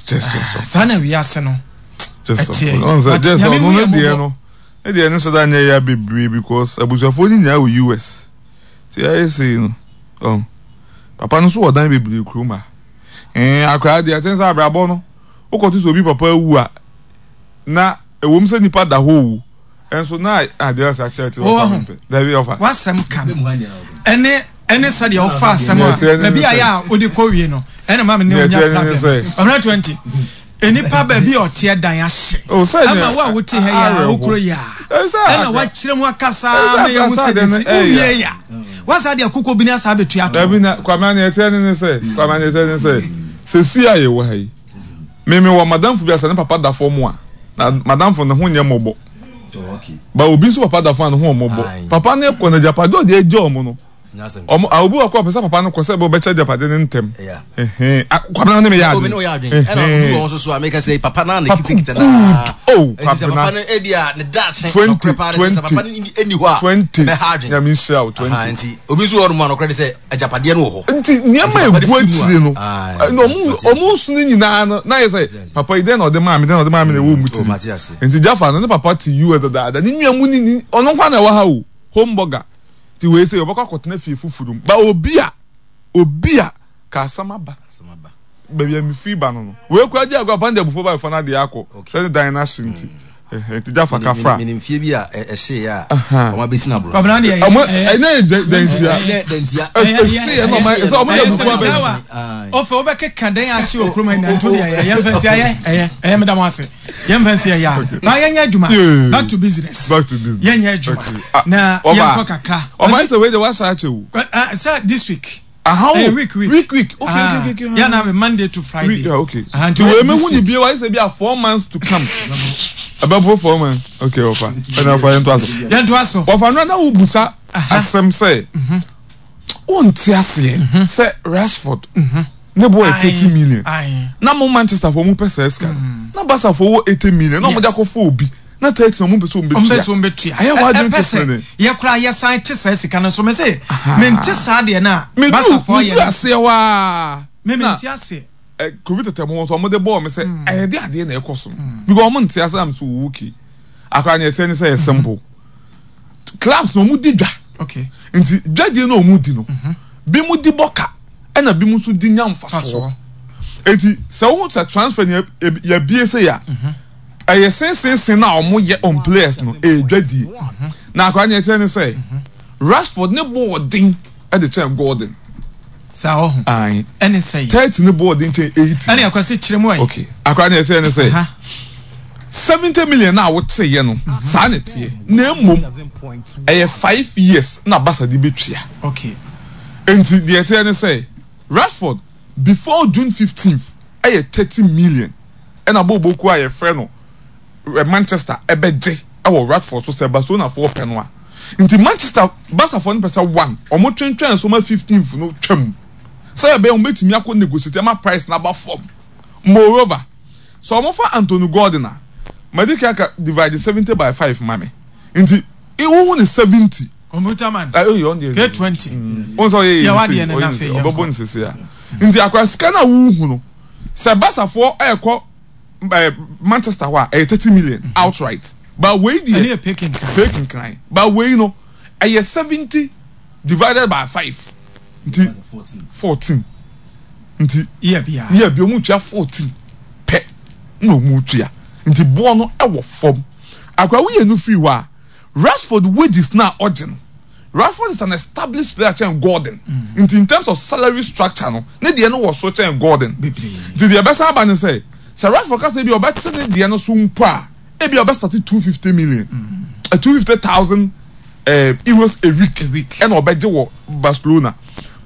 Just just ah, saa na wiase no ɛteɛ. But nyame hu yɛ mmɔbɔ. Ne deɛ ne sɛ da nyɛ ya bebree because abusuafoɔ no nyinaa wɔ US. Ti ayɛ sei no. Um, papa no nso wɔ dan bebree kurom ha. Eh, akwaraa deɛ ɛkyɛn sɛ abrabɔ no wokɔto sɛ obi papa awu a na ɛwom sɛ nipa da hɔ owu nso na adeɛ ase akyerɛ te ɔfa mempɛ dabi ɔfa wasɛm ka no ɛne ɛne sɛdeɛ ɔfa asɛm a baabi a yɛ a wode kɔ wie no ɛna ma me ne onya problem ɔmena 20 nnipa baabi a ɔteɛ dan ahye oh, ama wo a wote ha yi a wokuro yi a ɛna wakyerɛ mu akasa ma yɛhu sɛ de si wowie ya wasa deɛ koko bi ne asa abɛtua to dabi na kwame aneɛ ɛteɛ ne ne sɛ kwame aneɛ ɛteɛ ne sɛ sɛsi a yɛwɔ ha yi Me me wɔ madamfo bi a sɛ ne papa da fam a na madamfo ne ho nyɛ mmɔbɔ. Ba obi nso papa da fam a ne ho mmɔbɔ. Papa no kɔ na agyapade ɔde agya ɔmo no. Ɔmo a obi wɔ kɔ ɔpɛ sɛ papa no kɔ sɛ ɛbɛ ɔbɛkyɛ agyapade no ntɛm. Ɛhɛn Kwabena ne me yɛ adwene. Ɛna obi wɔ nso so a meka sɛ papa na ne kitikita na. Good oh Kwabena. Papa no ebi a ne daakye. 20 20 papa no ɛni hɔ a. 20 ɛbɛha adwene. Nyame nhyira wo 20. Nti obi nso wɔ hɔ nom a nɔkorɛ de sɛ agyapadeɛ no wɔ hɔ. Nti nneɛma a egu akyire no, na ɔmo ɔmo nsu no nyinaa no, na yɛ sɛ papa yi dɛn na ɔde maa mi, dɛn na ɔde maa mi na ɛwɔ ɔmo tiri. Nti Jaffa no ne papa te US dadaada, ne nua mu ni ni ɔno nko na ɛwɔ ha o, home burger. Nti wei sɛ ɔbɛkɔ akɔtena fie foforɔ mu. Ba obi a obi a ka asɛm aba. Baabi a mefiri ba no no. Wei koraa gye agorɔ papa no de abufuo ba bɛfa no adeɛ akɔ. Sɛ ne dan no ahye nti. Nti Jaffa ka fra. Menim fie bi a ɛhyeeɛ a wɔn abɛsi no aborɔsan. Kwabena deɛ ɛyɛ ɛnyɛ dansia. Ɛhyeeɛ na ɔma sɛ ɔmo de abufuo abɛsi. Ɔfɛ wobɛkeka dan ahye wɔ kurom ha nyinaa nti wodeɛ ɛyɛ yɛmfa nsi ayɛ ɛyɛ ɛyɛ meda mo ase yɛmfa nsi ɛyɛ a na yɛnyɛ adwuma back to business back to business yɛnyɛ adwuma na yɛnkɔ kakra. Ɔfa sɛ wei de wahyɛ akyɛ o. Sɛ this week. Aha o. Week week. Week week. Okay ah, okay okay. Yeah, na Monday to Friday. Week, yeah, okay. Ah, nti wei mehu ni bio ayɛ sɛ bi a 4 months to come. Ɛbɛboro 4 months. Okay, ɔfa. Ɛna ɔfa yɛn to aso. Yɛn to aso. Ɔfa no na wo busa asɛm sɛ wonte aseɛ sɛ Rashford ne bɔ yɛ 30 million. Na mo Manchester fo mo pɛ sɛ sika no. Na Barca fo wɔ 80 million na ɔmo de akɔfo obi. Na 30 na ɔmo pɛ sɛ ɔmo bɛtua. Ɔmo bɛtua. Ayɛ wɔ adwene te sɛ ne. Yɛ kora yɛ san te saa sika no so mɛ sɛ mente saa deɛ na Barca fo yɛ. Medu aseɛ waa. Me mente aseɛ. Kofi tɛtɛ mo nso ɔmo de bɔɔ me sɛ ɛyɛ de adeɛ na ɛkɔ so no. Because ɔmo nte ase am so okay. Akora ne ɛteɛ ne sɛ yɛ simple. Clubs na ɔmo di dwa. Okay. Nti dwadie na ɔmo di no. Bi mo di bɔ ka ɛna bi mo nso di nya nfasoɔ. Eti sɛ wo sɛ transfer ni yɛ bie sɛ ya. Ɛyɛ sensensen na ɔmo yɛ on players no ɛyɛ dwadie. Na akora ne ɛteɛ ne sɛ Rashford ne bɔ ɔden ɛde kyɛn Gordon. Saa ɔho. Ayi. Ɛne sɛ. 30 ne bɔ ɔden kyɛn 80. Ɛne akwasi kyerɛ mu ayi. Okay. Akora ne ɛteɛ ne sɛ 70 million na wote yɛ no saa na ɛteɛ. Na mmom ɛyɛ 5 years na Barca de bɛtua. Nti deɛ ɛteɛ ne sɛ Rashford before June 15th ɛyɛ 30 million ɛna bɔɔbɔkuo a yɛfrɛ no Manchester ɛbɛgye ɛwɔ Rashford so sɛ Barcelona foɔ pɛ no a. Nti Manchester Barca foɔ no pɛ sɛ one ɔmo twentwɛn so ma 15th no twam sɛ ɛbɛyɛ ɔmo bɛtumi akɔ negotiate ama price no aba fam. Moreover, sɛ ɔmo fa Anthony Gordon a, madi kan aka divide 70 by 5 ma me. Nti wohu ne 70. Computer man. Ayi ɔn deɛ. K20. Wɔn sɛ ɔyɛ yɛ yɛ wadeɛ no na ɔyɛ afei ne yɛn ɔbɛbɔ kɔ. ne sese a. Nti akora sika no a wohu no sɛ Barcafoɔ ɛɛkɔ Manchester hɔ a ɛyɛ 30 million outright. But wei Ɛno deɛ yɛ pay kenkan. Pay kenkan. But wei no ɛyɛ 70 divided by 5 nti 14 nti Yɛ bia. yɛ bi ɔmo tua 14 pɛ na ɔmo tua, nti boɔ no ɛwɔ fam. Akora woyɛ no firi hɔ a, Rashford wages na ɔgye no, Rashford is an established player kyɛn Gordon, nti in terms of salary structure no, ne deɛ no wɔ so kyɛn Gordon. Bebree. Nti deɛ ɛbɛsan aba ne sɛ sɛ Rashford kasa bi a ɔbɛte ne deɛ no so mpo a, ebi a ɔbɛsate 250 million, 250,000 euros a week. A week. Ɛna ɔbɛgye wɔ Barcelona,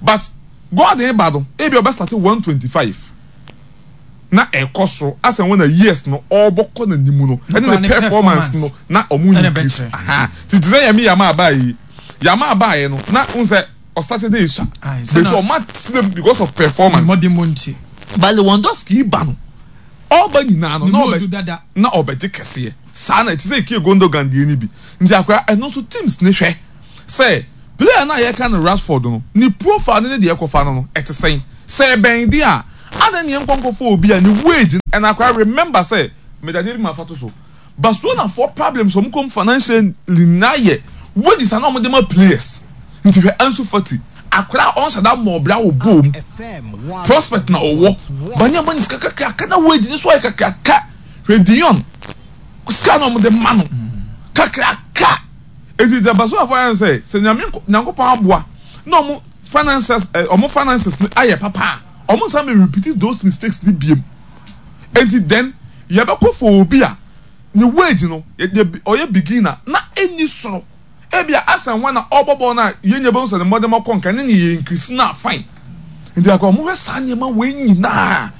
but Gordon ba no, ebi a ɔbɛsate 125 na ɛkɔ soro asɛn wɔn na years no ɔrebɔ kɔ n'anim no ɛne ne performance no na ɔmo increase. Titi sɛ yɛmi yama aba yi, yama aba yɛ no na n sɛ ɔstart de esua bɛsɛ ɔmo atena because of performance. Mmɔden mu nti. But Lewandowski ba no, ɔba nyinaa no ne na mu ɔbɛ odu dada. Na ɔbɛgye kɛseɛ saa na ɛte sɛ Ike Gundogan deɛ ni bi. Nti akora ɛno nso teams ne hwɛ sɛ player no a yɛka no Rashford no ne profile ne ne deɛ ɛkɔfa no no ɛte sɛn, sɛ ɛbɛn deɛ a. Adɛn ne yɛnkɔ nkɔfa obi a ne wage no and akora remember sɛ mede adeɛ bi ma fa to so Barcelona foɔ problems wɔn kɔm financially nyinaa yɛ wages a na wɔn de ma players nti hwɛ Ansu Fati akora a ɔnhyɛ da mmɔ ɔbra wɔ bɔɔl mu prospect na ɔwɔ ba ne ama ne sika kakraka na wage ne so ayɛ kakraka hwɛ De Jong sika na wɔn de ma no kakraka nti deɛ Barcelona foɔ ayɛ no sɛ sɛ nyame nyankopɔn aboa na wɔn finances eh, wɔn finances no ayɛ papa a wɔn nsa mɛ repeat those mistakes ni biem nti then yɛbɛkɔ for obi a ne wage no yɛ ɔyɛ beginner na ɛnni soro ebia asan wɔn na ɔbɔ bɔɔl no a yɛn nyɛ bɛhu sɛ ne mmɔden kɔ nka ne ne yɛ increase na fine nti akɔ wɔn hwɛ saa nneɛma wei nyinaa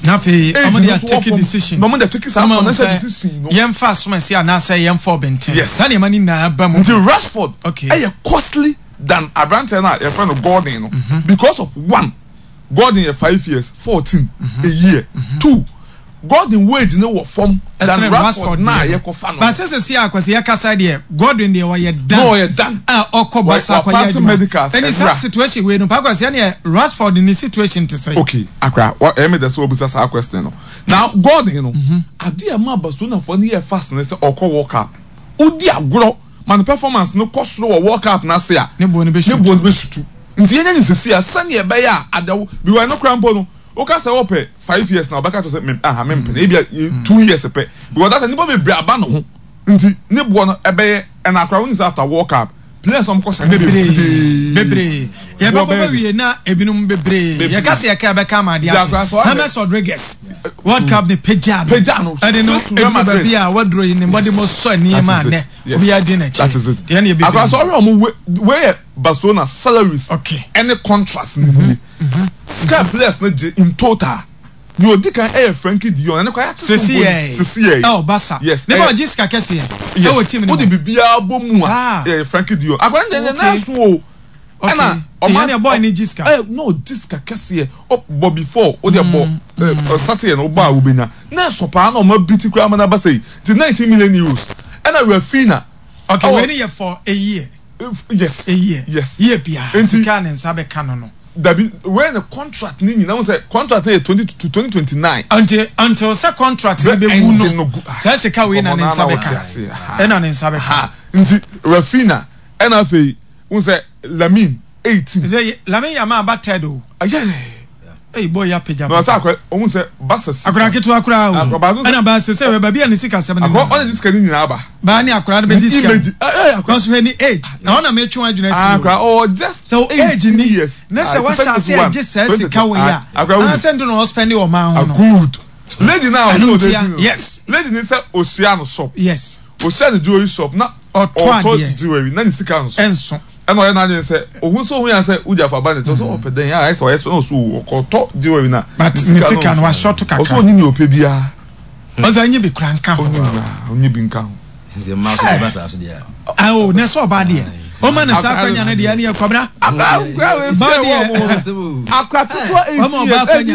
na afei wɔn de atake decision na wɔn de atake saa financial decision no yɛn fa asomasi anaasɛ yɛn fa ɔbɛnten yes saa nneɛma no nyinaa ba mu nti Rashford ɛyɛ costly than aberanteɛ no a yɛfrɛ no Gordon no because of one Gordon yɛ 5 years 14 a year two Gordon wage no wɔ fam than Rashford na yɛkɔ fa no. Baasa sɛ si akwasi yɛ kasa deɛ Gordon deɛ ɔyɛ dan no ɔyɛ dan a ɔkɔ basa akɔyɛ adwuma ɛni saa situation wei no pakwasi ɛni Rashford ni situation te sɛ. Okay akra wa ɛyɛ mi dɛ sɛ ɔbisa saa question no na Gordon no adeɛ a ɛma Barcelona fo no yɛ fast ne sɛ ɔkɔ World Cup odi agorɔ ma ne performance no kɔ soro wɔ World Cup n'ase a ne bo no bɛ sutu nti yɛnyɛ ne sisi a sɛnea ɛbɛyɛ a adawo because ɛno koraa mpo no woka sɛ wɔpɛ 5 years na ɔbɛka kyerɛ sɛ me aha me mpene ebi a 2 years pɛ because that nipa bebree aba ne ho nti ne boɔ no ɛbɛyɛ ɛna akora wɔn sɛ after World Cup players wɔn kɔ hyɛ bebree bebree yɛbɛbɔ bɛ wie na ebinom bebree yɛka sɛ yɛka yɛbɛka ama adeɛ akye James Rodriguez World Cup ne pagya no pagya no ɛde no eduru baabi a waduro yi ne mbɔde mo sɔ nneɛma anɛ obi adi n'akyi deɛ ne ebi akora sɛ ɔhwɛ ɔmo wei yɛ Barcelona salaries ɛne contracts ne nie sika players no gye in total nea odi kan ɛyɛ Frenkie de Jong ɛne kora yɛate so mpo ni sisi yɛ ɛwɔ Barca yes ne ba ɔgye sika kɛseɛ ɛwɔ team ne mu wode biribiara bɔ mu a ɛyɛ Frenkie de Jong akora ne deɛ ne so o ɛna ɔma ɛyɛ boy ne gye sika ɛ no ɔgye sika kɛseɛ ɔbɔ before o deɛ bɔ ɛ start yɛ no ɔbɔ a wobɛnya na ɛsɔ paa na ɔma bi ti koraa ma n'aba sɛ yi ti 19 million euros ɛna Raphinha. Okay wei ne yɛ for a year. Yes a year yes year biara sika ne nsa bɛka no. Dabi wei ne contract ne nyinaa sɛ contract ne yɛ 20 to 2029. Until until sɛ contract ne bɛ wu no sɛ sika wei na ne nsa bɛka ɛna ne nsa bɛka. Nti Raphinha ɛna afei n sɛ Lamine 18. Sɛ Lamine Yamal aba third o. Eyi boy ya pagya. Na ɔsɛ akora ohun sɛ Barca sika. Akora ketewa koraa o. Ɛna Barca sɛ baabi a ne sika sɛm ne. Akora ɔna ne sika ne nyinaa ba. Baa ne akora no bɛgye sika. Image ɛɛ akora. Because hwɛ ni age na ɔna metwe wɔn adwene asi. Akora ɔwɔ just 18 years. Ne sɛ wahyɛ ase agye sɛ sika wɔ yi a. Akora wuli. Anasɛ ndo na ɔspɛndi wɔ ɔman ho no. Good. Lady na ɔsɛ ɔde ti no. Yes. Lady ni sɛ ohyia no shop. Yes. Ohyia no jewelry shop na ɔtɔ jewelry na ne sika nso. Ɛnso. Ɛna ɔyɛ n'adwene sɛ ohun sɛ ohun yɛ sɛ wogya fa ba ne nkyɛn sɛ ɔpɛ dɛn a ayɛ sɛ ɔyɛ sɛ ɔsɛ ɔkɔtɔ jewelry na but ne sika no wahyɛ to kakra ɔsɛ ɔnyi nea ɔpɛ biara ɔsɛ ɔnyi bi kura nka ho ɔnyi bi nka ho. Nti mmaa so ɛba saa so deɛ. Awo na ɛsɛ ɔbaa deɛ ɔma ne saa akwanya no deɛ ɛne ɛkɔbra. Ba deɛ akora ketewa 18 years ɛdi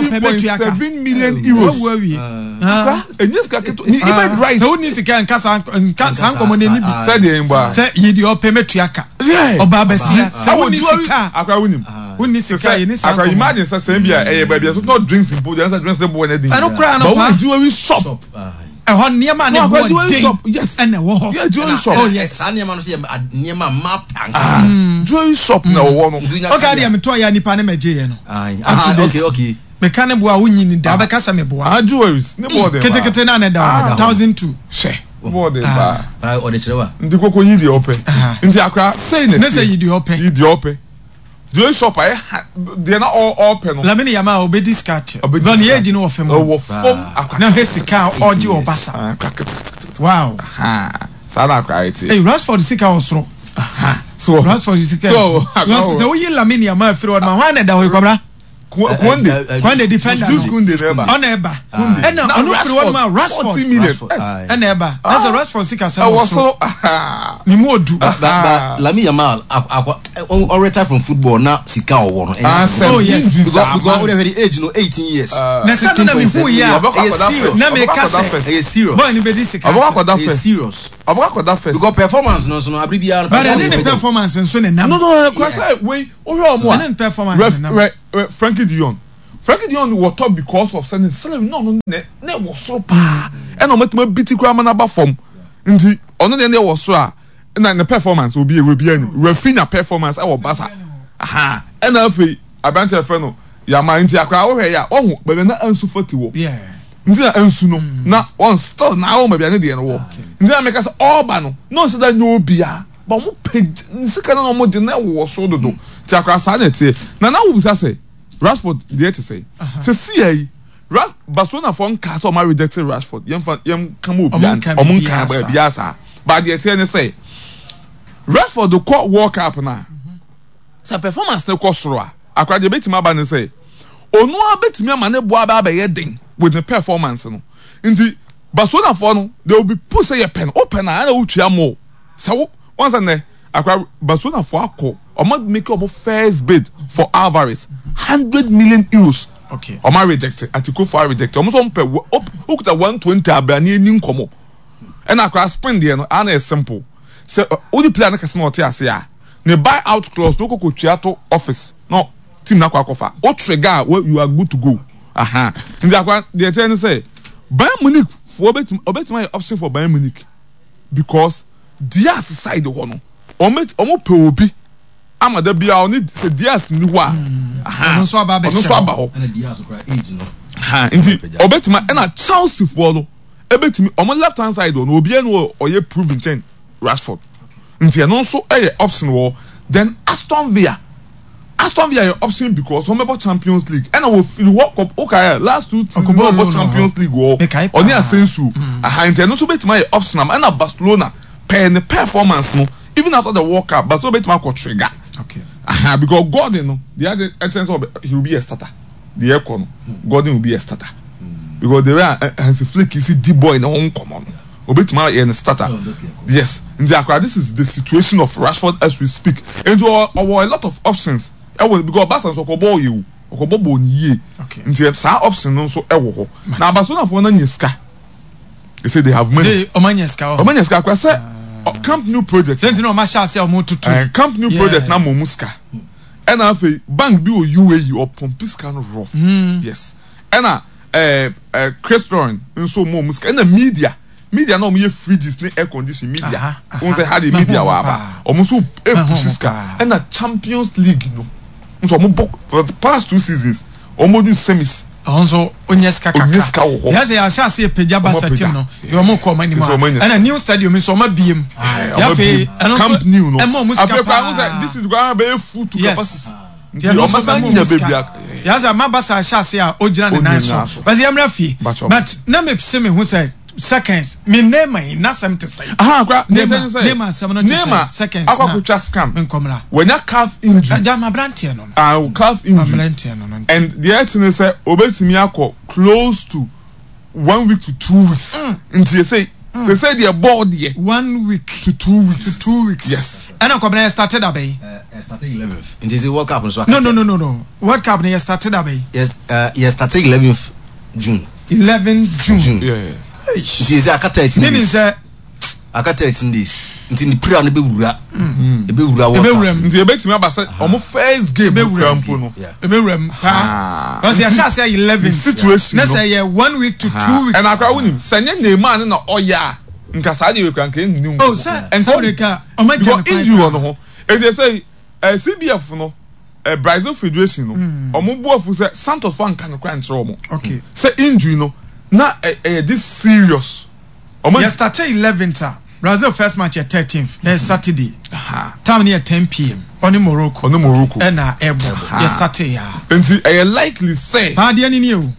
16.7 million euros. Wawu awie. Akora enye sika ketewa ni image right. Sɛ wonni sika nka saa nka saa nkɔmɔ n'ani bi. Sɛ deɛ mbɔ a. Sɛ yi deɛ ɔpɛ mɛtua ka. Ɔbaa bɛsia sɛ wonni sika. Akora wonim. Wonni sika yɛ ni saa nkɔmɔ. Akora imagine sɛ sɛn bi a ɛyɛ baabi a so not drinks mpo deɛ ɛsɛ drinks ne boɔ ne den. Ɛno koraa no paa. But wɔn jewelry shop. Ɛhɔ nneɛma ne boɔ den ɛna ɛwɔ hɔ. Yeah, jewelry shop. Oh yes. Saa nneɛma no so yɛ nneɛma mmaa pɛ ankasa. Jewelry shop na ɛwɔ no. Okay adeɛ metɔ yɛ nipa ne mɛgye yɛ no. Up to date. Okay okay. Meka ne boa wonyi ni da bɛka sɛ meboa. Ah jewelries ne boɔ den paa. Ketekete na na ɛda hɔ 1,200. Hwɛ boɔ den paa. Ɔde kyerɛ wa. Nti koko yi deɛ ɔpɛ. Nti akora sei na ɛteɛ. Ne sɛ yi deɛ ɔpɛ. Yi deɛ ɔpɛ. Jewelry shop ayɛ ha deɛ na ɔpɛ no. Lamine Yamal ɔbɛdi sika kyɛ. Ɔbɛdi sika. Ne age no wɔ fam. Ɛwɔ fam akora. Na hwɛ sika a ɔgye wɔ Barca. Akora ketekete. Wow. Saa na akora ayɛ teɛ. Hey Rashford sika wɔ soro. So Rashford sika. So sɛ woyi Lamine Yamal firi hɔ no ma hwan na ɛda hɔ yi Kwabena? Kounde. Kounde defender no. Kounde na ɛba. Ɔna ɛba. Ɛna ɔno firi hɔ nom a Rashford. 40 million. Ɛna ɛba. Na sɛ Rashford sika sɛ wɔ soro. Ne mu odu. Ba Lamine Yamal akwa ɔ retire from football na sika ɔwɔ no. Oh yes. Because o de hwɛ the age no 18 years. Na sɛ no na mi hu yi a. Na mi ka sɛ. Ɛyɛ serious. Boy ni bɛ di sika. Ɔbɛkɔ akɔda first. Ɛyɛ serious. Ɔbɛkɔ akɔda first. Because performance no nso no abiri biara. But ɛne ne performance nso ne nam. No no kura sɛ wei wohwɛ ɔmo a. Ɛne ne performance ne nam. Ref ref Frenkie de Jong. Frenkie de Jong wɔ top because of sɛ ne salary na ɔno ne na ɛwɔ soro paa ɛna ɔmo atumi abiti koraa ama no aba fam nti ɔno deɛ ɛwɔ soro a ɛna ne performance obi ewu obi anim Rafinha performance ɛwɔ Barca aha ɛna afei aberante ɛfɛ no Yamal nti akora wohwɛ yɛ a ɔho baabi na Ansu Fati wɔ nti na Ansu no na wɔn still na wɔn baabi a ne deɛ no wɔ nti na meka sɛ ɔɔba no na ɔnhyɛ da nyɛ obiara ba wɔn pɛ ne sika no na wɔn de na ɛwɔ soro dodo nti akora saa na ɛteɛ na na wobisa sɛ Rashford deɛ te sɛ sɛ siya yi Ra Barcelona foɔ nkaa sɛ ɔmo reject Rashford yɛn fa yɛn ka ma obiara ɔmo nkaa baabiara saa ba deɛ ɛteɛ ne sɛ Rashford kɔ World Cup na sɛ performance ne kɔ soro a akora deɛ ebetumi aba ne sɛ ɔno ara betumi ama ne bo aba abɛyɛ den with ne performance no nti Barcelona foɔ no they will be push sɛ yɛ pɛ no o pɛ no a ɛna wotua more sɛ wo wɔn sɛ nnɛ akora Barcelona foɔ akɔ ɔmo make ɔmo first bid for Alvarez €100 million. Okay. Ɔmo reject Atikofo reject ɔmo nso ɔmo pɛ okuta 120 abrane ani nkɔmɔ ɛna akora spin deɛ no ana yɛ simple sɛ wodi player no kɛse na ɔte ase a ne buy out clause no koko tua to office na team na akɔ akɔfa o trigger a you are good to go aha nti akora deɛ ɛkyɛ ne sɛ Bayern Munich foɔ betumi ɔbɛtumi ayɛ option for Bayern Munich because Diaz side hɔ no ɔmo ɔmo pɛ obi ama da biara ɔne sɛ Diaz ni hɔ a ɔno nso aba ɔno nso aba hɔ ɛna Diaz kora age no nti ɔbɛtumi ɛna Chelsea foɔ no ɛbɛtumi ɔmo left hand side hɔ no obiara no ɔyɛ proven kyɛn Rashford nti ɛno nso ɛyɛ option wɔ then Aston Villa Aston Villa yɛ option because wɔn bɛbɔ Champions League ɛna wɔ firi hɔ kɔ okae last two seasons wɔn bɔ Champions League wɔ ɔne Asensio aha nti ɛno nso bɛtumi ayɛ option ama ɛna Barcelona pɛɛ ne performance no even after the World Cup Barcelona bɛtumi akɔ trigger okay aha because Gordon no deɛ adi ɛkyɛn sɛ he will be a starter deɛ ɛkɔ no Gordon will be a starter because the way a Hansi Flick si di boy ne ho nkɔmɔ no obetumi ayɛ ne starter yes nti akora this is the situation of Rashford as we speak nti ɔwɔ a lot of options ɛwɔ because Barca nso ɔkɔ bɔɔl yɛ o ɔkɔ bɔ bɔɔl ne yie nti saa option no nso ɛwɔ hɔ na Barcelona foɔ no anya sika they say they have money ɔmo anya sika ɔmo anya sika akora sɛ Camp Nou project sɛ nti na ɔmo ahyɛ ase a ɔmo tutu Camp Nou project na mo ɔmo sika ɛna afei bank bi wɔ UAE ɔpɔmpi sika no rough yes ɛna. ɛɛ ɛɛ Crestron nso wɔn wɔn sika ɛna media media na wɔn yɛ fridges ne air condition media wɔn sɛ ha de media wɔ aba wɔn nso epusi sika ɛna Champions League no nso wɔn bɔ for the past two seasons wɔn du semis. Ɔno nso onye sika kakra onye sika wɔ hɔ yɛ sɛ yɛahyɛ ase pagya Barca team no deɛ wɔn kɔ wɔn anim a ɛna new stadium nso wɔn abiem yɛafei ɛno nso ɛma wɔn sika paa afei kwan this is kwan bɛyɛ full to capacity. Nti ɛno nso bɛma ɔmo sika. Yasa ama Barca ahyɛ ase a ogyina ne nan so. Bɛsɛ yɛmmra fie. But na me se me ho sɛ seconds me Neymar yi n'asɛm te sɛn? Aha kora Neymar Neymar asɛm no te sɛn? Seconds na akɔ akɔtwa scan. Nkɔmra. Wanya calf injury. Gya ma aberanteɛ no no. Ah calf injury. Aberanteɛ no no. And deɛ ɛte ne sɛ obetumi akɔ close to one week to 2 weeks. Nti yɛ sɛ sɛ deɛ bɔɔl deɛ. One week to 2 weeks. To 2 weeks. Yes. Ɛna nkɔmra yɛ started abɛn. Ɛ started 11th. Nti sɛ World Cup nso No no no no no World Cup no yɛ started abɛn. Yes yɛ started 11th June. 11 June. June. Yeah. Nti sɛ aka 13 days. Meaning sɛ. Aka 13 days. Nti ne pira no bɛwura. Ɛbɛwura World Cup. Nti ebetumi aba sɛ ɔmo first game kura mpo no. Ebewura mu paa. Ɔsɛ yɛhyɛ ase 11. Situation no. Ne sɛ yɛ one week to 2 weeks. Ɛna akora wonim sɛ nye Neymar ne na ɔyɛ a nka saa deɛ wekura nka enni nkɔmɔ. Oh sɛ sɛ wode ka ɔmo agya ne kwan. Because injury wɔ no ho. Eti sɛ CBF no Brazil Federation no ɔmo bu afu sɛ Santos fo anka no kora nkyerɛ ɔmo. Okay. Sɛ injury no na ɛyɛ this serious. Ɔmo yɛ start 11th a Brazil first match yɛ 13th ɛyɛ Saturday. Time no yɛ 10 pm ɔne Morocco. Ɔne Morocco. Ɛna ɛbɔ yɛ start ya. Nti ɛyɛ likely sɛ. Paa deɛ ni ni o.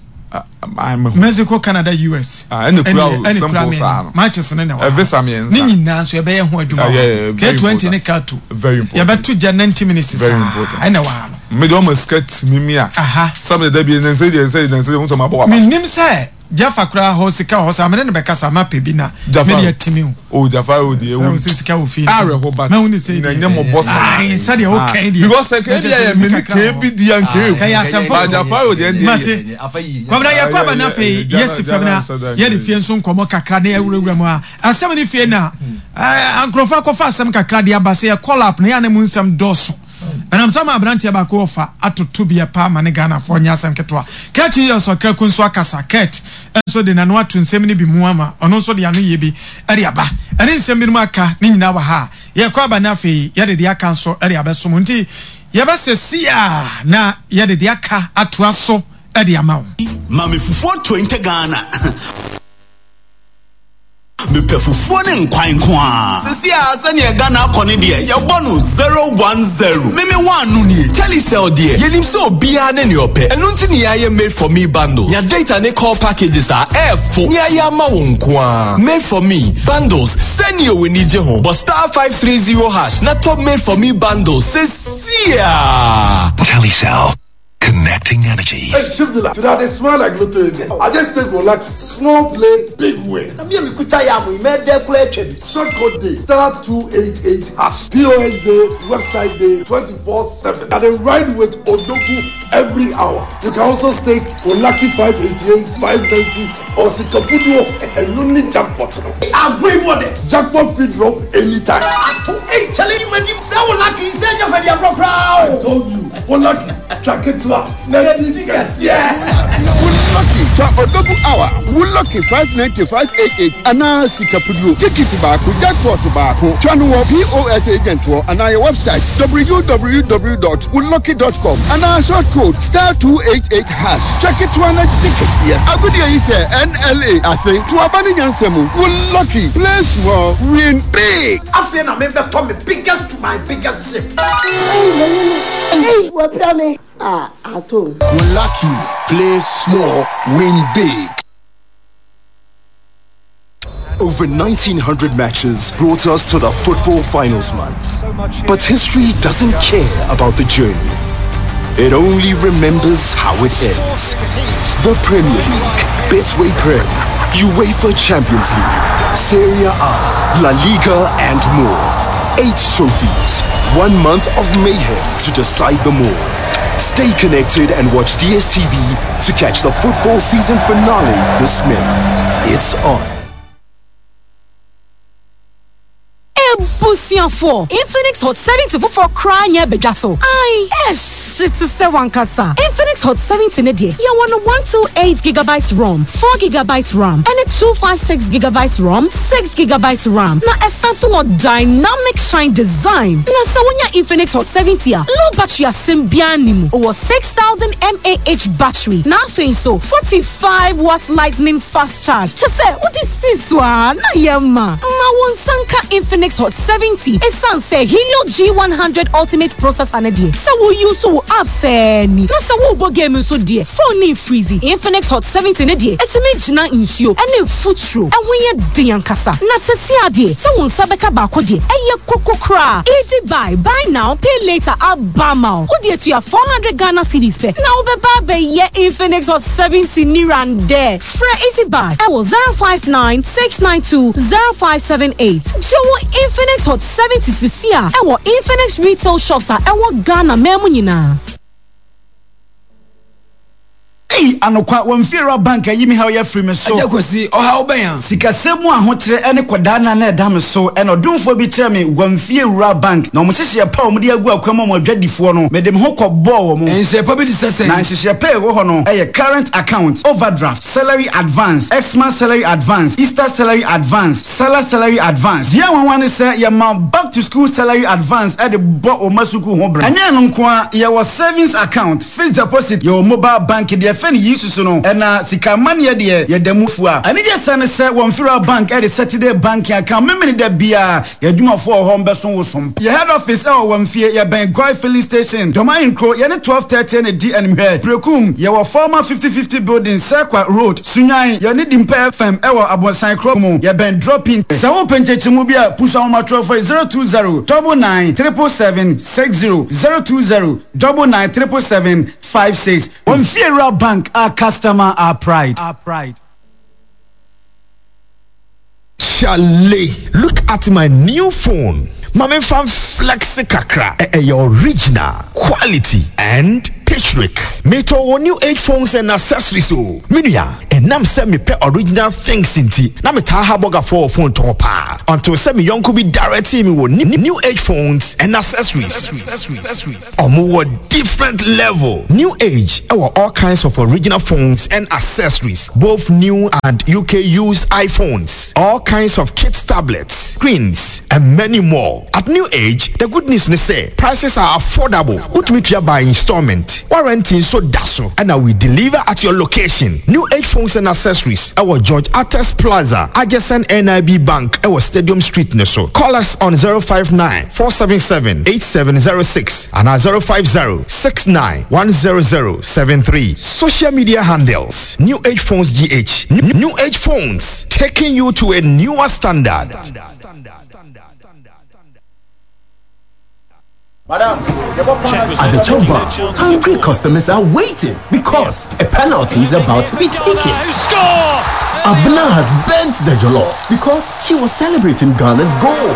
Mexico, Canada, US. Ɛna kura o simple saa no. Matches no na ɛwɔ ha. Visa mmiɛnsa. Ne nyinaa nso yɛbɛyɛ ho adwuma wɔ ha. K20 ne K2. Very important. Yɛbɛto gya 90 minutes saa. Very important. Ɛna ɛwɔ ha no. Me de ɔmo sika timi mi a. Sɛ me de dabi nansa deɛ nsɛ nansa deɛ nsɛ ma bɔ wa. Me nim sɛ Jaffa koraa hɔ sika wɔ hɔ saa mene no bɛkasa mapɛ bi na mede atimi o. Oh Jaffa o deɛ ewu. Sɛ sika wɔ fie. Awerɛho but na nyɛ mɔbɔ saa. Ayi sɛdeɛ o kɛn deɛ. Because sɛ kɛn bi ayɛ mene kɛn bi di anka ewu. Kɛyɛ asɛm foforo. Jaffa o deɛ deɛ. Mate. Kwabena yɛ kɔ aba na afei yɛsi fam na yɛde fie nso nkɔmɔ kakra na yɛwurawura mu a asɛm ne fie na nkurɔfoɔ akɔfa asɛm kakra de aba sɛ yɛ call up na yɛ anam nsɛm dɔɔso. Ɛnam sɛ ama aberanteɛ baako ɔfa atoto bi ɛpa ama ne Ghanafoɔ nyɛ asɛm ketewa. Kurt Yiyɔs Ɔkraku nso akasa. Kurt nso de n'ano ato nsɛm no bi mu ama ɔno nso de ano yie bi de aba. Ɛne nsɛm binom aka ne nyinaa wɔ ha a yɛrekɔ aba na afei yɛde deɛ aka nso de abɛso mo. Nti yɛbɛsɛ siaa na yɛde deɛ aka atoa so de ama wo. Ma me fufuo 20 Ghana. Mepɛ fufuo ne nkwan nko ara. Sisi a sɛdeɛ Ghana akɔ no deɛ, yɛbɔ no 0 1 0. Me me one no nie. Telecel deɛ, yɛnim sɛ obiara ne nea ɔpɛ. Ɛno nti na yɛayɛ Made for Me bundle. Nya data ne call packages a ɛɛfo ne ayɛ ama wo nko ara. Made for Me bundles, sɛnea w'ani gye ho. Bɔ *530# na tɔ Made for Me bundles seesei ara. Telecel, connecting energies. Hey, Chief Dealer, today I dey smile like lotto agent. I just take go lucky. Small play, big win. Na me a mekuta yam yi, mɛdɛ koraa atwa bi. Short code dey, *288#. POS dey, website dey, 24/7. I dey ride with Odogu every hour. You can also stake for lucky 588, 590 or Sikapuduo and only jackpot no. Agorɔ yi mu ɔdɛ. Jackpot fit drop anytime. Ato ei kyale yi madi sɛ wo lucky sɛ nyɛ fɛ di agorɔ koraa o. I told you, wo lucky twa ketewa na di kɛseɛ. Wo lucky twa Odogu hour, wo lucky 590, 588 anaa Sikapuduo. Tikiti baako, jackpot baako. Twa no wɔ POS agent hɔ anaa yɛ website www.wolucky.com anaa short code *288#. Twa ketewa na gye kɛseɛ. Agodie yi hyɛ NLA ase. To aba ne nyansa mu. Wo lucky, play small, win big. Afei na mebɛtɔ me biggest to my biggest ship. Ei m'ani no ei wapira me ah ato mu. Wo lucky, play small, win big. Over 1900 matches brought us to the football finals month. But history doesn't care about the journey. It only remembers how it ends. The Premier League, Betway Prem, UEFA Champions League, Serie A, La Liga, and more. 8 trophies, 1 month of mayhem to decide them all. Stay connected and watch DSTV to catch the football season finale this May. It's on. Abusuafoɔ, Infinix Hot 70 foforɔ koraa nyɛ abadwa so. Ae, ɛhye te sɛ w'ankasa. Infinix Hot 70 no deɛ, yɛwɔ no 128 gigabytes ROM, 4 gigabytes RAM, ɛne 256 gigabytes ROM, 6 gigabytes RAM. Na ɛsan so wɔ Dynamic Shine Design. Na sɛ wonya Infinix Hot 70 a, low battery asɛm biara nni mu. Wɔ 6000 mAh battery, na afei nso 45 watt lightning fast charge. Kyɛ sɛ wode si so a na yɛ ma. Ma wo nsa nka Infinix Hot 70 esiane sɛ Helio G100 Ultimate processor no deɛ, sɛ wo use wo apps sɛɛ ni, na sɛ worebɔ game nso deɛ, phone no mfreeze. Infinix Hot 70 no deɛ, ɛtumi gyina nsuo ne mfuturo, ɛho yɛ den ankasa. Na sesia deɛ, sɛ wo nsa bɛka baako deɛ, ɛyɛ koko koraa. Easy buy, buy now, pay later aba ama wo. Wode atua 400 Ghana cedis pɛ na wobɛba abɛyɛ Infinix Hot 70 nirandɛ. Frɛ Easy Buy ɛwɔ 059 692 0578. Gye wo Infinix Hot 70 sisi a ɛwɔ Infinix retail shops a ɛwɔ Ghana man mu nyinaa. Ei anokwa, wɔn fiewura bank ayi me haw yi afiri me so. Agya Kwasi, ɔhaw bɛn a? Sikasɛm mu ahokyerɛ ne kɔdaanna na ɛda me so, ɛna ɔdomfoɔ bi kyerɛɛ me wɔn fiewura bank, na wɔn nhyehyɛeɛ pa a wɔde agu akwan mu ama adwadifoɔ no, mede me ho kɔbɔɔ wɔn. Nhyehyɛeɛ pa bi te sɛ sɛn? Na nhyehyɛeɛ pa a ɛwɔ hɔ no yɛ current account, overdraft, salary advance, Xmas salary advance, Easter salary advance, Salah salary advance. Deɛ nwanwa ne sɛ yɛma back to school salary advance de bɔ wo mma sukuu ho bra. Ɛnyɛ ɛno nko ara, yɛwɔ savings account, Fixed deposit, yɛwɔ mobile bank deɛ ɛfɛ no yi susu no, ɛna sika amaneɛ deɛ yɛda mu fua. Anigye sɛm ne sɛ wɔ Mfiriwa Bank de Saturday banking account Memeneda biara yɛn adwumafoɔ wɔ hɔ mbɛso wo som. Yɛ head office ɛwɔ Wamfie, yɛbɛn Goil filling station, Dɔm Ahenkuro, yɛne 12:30 na ɛdi animhwɛ. Berekum, yɛwɔ former 50:50 building, Serkwa road, Sunyani, yɛne Dimpa FM ɛwɔ Abonsan kuro mu, yɛbɛn Drop-in. Sɛ wopɛ nkyɛkyɛmu bi a, pusu ahomatorɔfoɔ yi 020 99 777 60, 020 99 777 56. Wɔn Fiewura Bank, our customer, our pride. Chale, look at my new phone. Ma me nfa flex kakra. Ɛyɛ original, quality and. Patrick. Metɔ wɔ New Age phones and accessories o. Me nua, ɛnam sɛ mepɛ original things nti, na metaa ha bɔgafoɔ wɔ phone tɔn paa. Until sɛ me yɔnko bi directee me wɔ New Age phones and accessories. Ɔmo wɔ different level. New Age wɔ all kinds of original phones and accessories, both new and UK used iPhones, all kinds of kids tablets, screens and many more. At New Age, the good news ne sɛ prices are affordable, wotumi tua by installment, warranty nso da so ɛna we deliver at your location. New Age Phones and Accessories ɛwɔ George Artes Plaza, adjacent NIB Bank ɛwɔ Stadium Street no so. Call us on 059 477 8706 anaa 050 69 100 73. Social media handles, New Age Phones GH. New Age Phones, taking you to a newer standard. At the chop bar, hungry customers are waiting because a penalty is about to be taken. Abna has bent the jollof because she was celebrating Ghana's goal.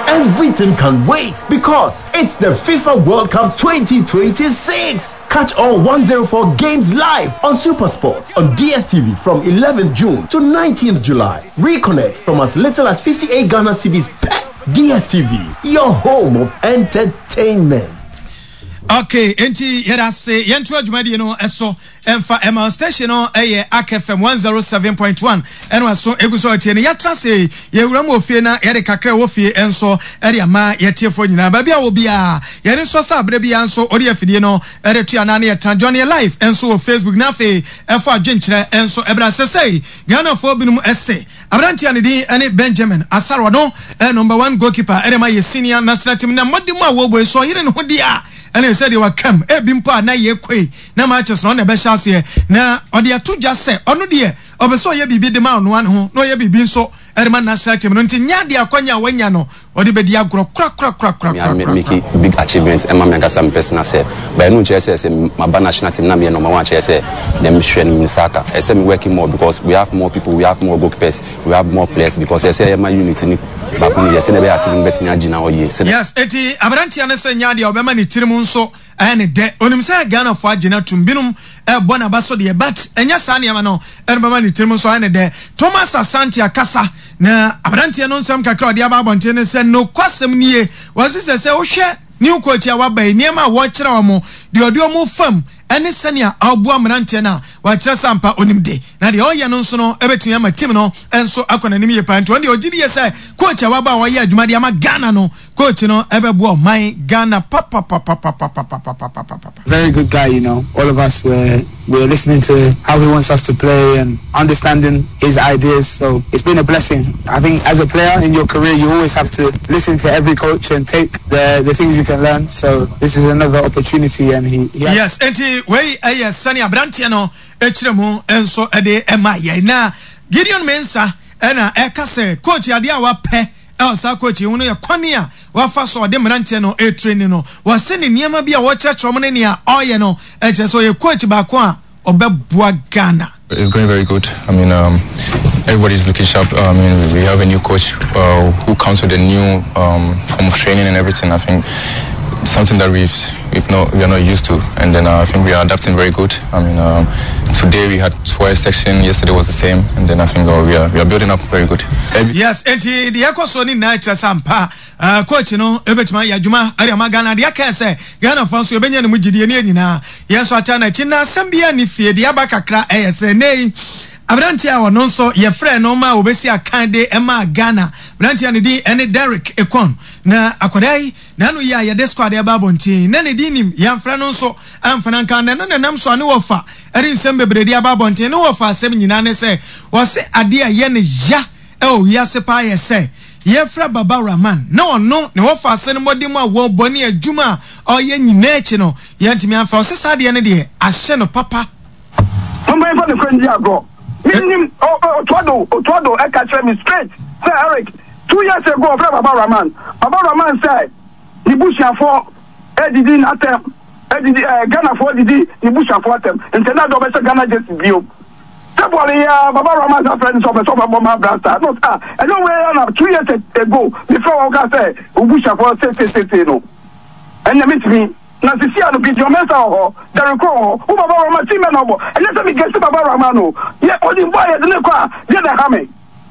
Everything can wait because it's the FIFA World Cup 2026. Catch all 104 games live on Supersport on DSTV from 11th June to 19th July. Reconnect from as little as 58 Ghana cedis per DSTV, your home of entertainment. Okay, enti yɛda ase yɛnto adwumadie no so ɛmfa ɛma station no ɛyɛ Ak FM 107.1 ɛna ɛso egu so ɔtie no yɛatra se yɛwura mu wɔ fie na yɛde kakra ɛwɔ fie nso ɛde ama yɛtiefoɔ nyinaa baabi a wɔ biara yɛne nso sɛ aberɛ biara nso ɔde afidie no ɛde to anaa ne yɛtra join yɛ live nso wɔ Facebook na afei ɛfɔ adwenkyerɛ nso ɛbrɛ sɛsɛi Ghanafoɔ binom se aberanteɛ a ne din ne Benjamin Asare ɔno yɛ number one goalkeeper de ma yɛ senior national team na mmɔden mu a wɔbɔ yi sɛ ɔyere ne ho deɛ a ɛne sɛ deɛ wakam ebi mpo a na yɛkɔ yi na matches no ɔno na ɛbɛhyɛ aseɛ na ɔde ato dwa sɛ ɔno deɛ ɔpɛ sɛ ɔyɛ biribi de ma ɔno ara ne ho na ɔyɛ biribi nso de ma national team no nti nyɛ adeɛ akwanya a wanya no ɔde bɛdi agorɔ Me a me make korakorakorakorakorakora. big achievement ɛma me ankasa me personal self but ɛno nkyerɛ sɛ sɛ maba national team na meyɛ number one kyerɛ sɛ deɛ mehwɛ no me nsa aka. Ɛsɛ sɛ me working more because we have more people, we have more goalkeepers, we have more players because ɛsɛ sɛ yɛma unit no baako no yɛ sɛdeɛ ɛbɛyɛ a team no bɛtumi agyina hɔ yie sɛdeɛ. Yes, enti aberanteɛ no sɛ nyɛ adeɛ a ɔbɛma ne tirim nso Ɛyɛ ne dɛ. Onim sɛ Ghanafoɔ agye no atum. Binom rebɔ n'aba so deɛ but ɛnyɛ saa nneɛma no na ɛbɛma ne tirim nso ayɛ ne dɛ. Thomas Asante akasa na aberanteɛ no nsɛm kakra a ɔde aba abɔnten ne sɛ nokwasɛm nie, wɔse sɛ sɛ wohwɛ new coach a waba yi nneɛma a wɔkyerɛ wɔn, deɛ ɔde wɔn fam ne sɛnea ɔboa mmeranteɛ no a, wakyerɛ sɛ ampa onim de. Na deɛ ɔyɛ no nso no bɛtumi ama team no nso akɔ n'anim yie paa. Nti ɔno deɛ ɔgye die sɛ coach a waba a ɔyɛ adwuma de ama Ghana no, Coach no ɛbɛboa ɔman Ghana papapapapapapapapapa. Very good guy you know all of us were were listening to how he wants us to play and understanding his ideas so it's been a blessing I think as a player in your career you always have to listen to every coach and take the the things you can learn so this is another opportunity and he he Yes, enti wei ɛyɛ sɛnea aberanteɛ no kyerɛ mu nso de ma yɛn. Na Gideon Mensah ɛna ɛka sɛ coach adeɛ a wapɛ Ɛwɔ saa coach yi ho no yɛ kwan a wafa so a ɔde mmeranteɛ no retraini no. Wɔse ne nneɛma bi a ɔrekyerɛkyerɛ wɔn ne nea ɔreyɛ no kyerɛ sɛ ɔyɛ coach baako a ɔbɛboa Ghana. It's going very good. I mean, um, everybody's looking sharp. I mean, we have a new coach uh, who comes with a new um, form of training and everything. I think something that we've, we've not, we are not used to. And then uh, I think we are adapting very good. I mean, um, today we had twice section, yesterday was the same. And then I think uh, we, are, we are building up very good. Yes, enti deɛ ɛkɔ soɔ no nyinaa kyerɛ sɛ ampa uh, coach no ɛbɛtumi ayɛ adwuma ɛde ama Ghana. Deɛ aka sɛ Ghana fa nso yɛbɛnya ne mu gyidie ne yɛn nyinaa yɛn nso ata n'akyi. Na asɛm biara ne fie deɛ aba kakra ɛyɛ sɛ nnɛ yi aberanteɛ a ɔno nso yɛfrɛ no ma wɔbɛsi akan de ɛma Ghana aberanteɛ a ne din ɛne Derrick Ekon na akwadaa yi N'ano yi a yɛde squad ɛba abɔnten na ne din nim, yɛamfrɛ no nso amfa no anka na ɛno na ɛnam so a ne wɔfa de nsɛm bebree de aba abɔnten. Ne wɔfa asɛm nyinaa ne sɛ wɔse adeɛ a ɛyɛ no ya wɔ wiase paa yɛ sɛ yɛfrɛ Baba Rahman na ɔno ne wɔfa ase no mmɔden mu a wɔbɔ ne adwuma a ɔyɛ nyinaa akyi no yɛantumi amfa. Ɔse saa adeɛ no deɛ ahyɛ no papa. Momma yɛmfa nokorɛ ndi agorɔ. Mennim, Otuado, Otuado ɛka kyerɛ me straight sɛ Eric, 2 years ago ɔfrɛ Baba Rahman, Baba Rahman sɛ ne busuafoɔ ɛdidi n'atɛm, ɛdidi, ɛɛ, Ghanafoɔ didi ne busuafoɔ atɛm, nti ɛnna de ɔbɛhyɛ Ghana jersey bio. Sɛ bɔɔl yi ara, Baba Rahman san frɛ no sɛ ɔpɛ sɛ ɔbɛbɔ ma Black Stars, na ɔsɛ ah, ɛnyɛ wei ara na 2 years ago mefrɛ wo a wokaa sɛ wo busuafoɔ seeseeseesei no, ɛnna mentumi. Na sisi a no Gideon Mensah wɔ hɔ, Derrick Crowe wɔ hɔ, wo Baba Rahman team bɛn na ɔbɔ? Ɛnyɛ sɛ me gesi Baba Rahman o, yɛ onim bɔ a yɛde no kɔ a deɛ na ɛha me?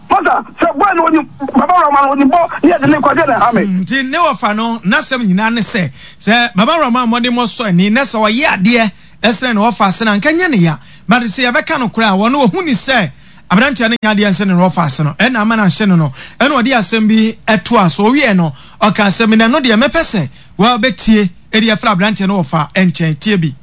Masa, sɛ boy no onim Baba Rahman onim bɔ ne yɛde no kɔ a deɛ na ɛha me? Nti ne wɔfa no n'asɛm nyinaa ne sɛ, sɛ Baba Rahman mmɔdemmɔ sɔ ani na sɛ ɔyɛ adeɛ sene ne wɔfa ase no a, anka ɛnyɛ ne ya. But sɛ yɛbɛka nokorɛ a, ɔno ɔhu ne sɛ aberanteɛ no nyɛ adeɛ nsene ne wɔfa ase no ɛna ama no ahye no no. Ɛna ɔde asɛm bi toaa so. Ɔwieɛ no, ɔkaa sɛ, Me na ɛno deɛ mɛpɛ sɛ wɔbɛtie de afiri aberanteɛ no wɔfa nkyɛn. Tie bi.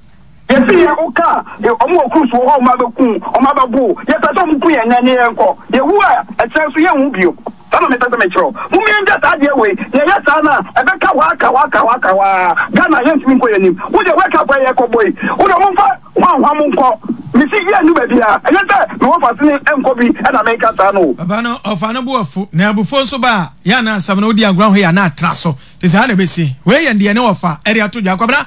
Yɛse yɛ wo ka a ɔmo wɔ cruise wɔ hɔ ɔmo abɛku wo ɔmo abɛbo wo yɛpɛ sɛ ɔmo ku yɛn nnɛ ne yɛnkɔ yɛwu a ɛkyerɛ nso yɛnwu bio saa na mepɛ sɛ mekyerɛ wo mom yɛngya saa adeɛ wei yɛyɛ saa no a ɛbɛka hɔ aka hɔ aka hɔ aka hɔ aa Ghana yɛntumi nkɔ yɛnim wo deɛ wake up a yɛkɔ bɔ yi wo deɛ ɔmo mfa hwanhwam nkɔ mesi yɛnnu baabiaa ɛnyɛ sɛ mewɔ fasene nkɔ bi ɛna meka saa no o. Papa no ɔfa no bo afu na abufuo nso ba a yɛ a na asɛm no wodi agorɔ ho yɛ a na atra so. Te saa na ɛbɛsi. Wei yɛ deɛ ne wɔfa ɛde ato dwa. Kwabena,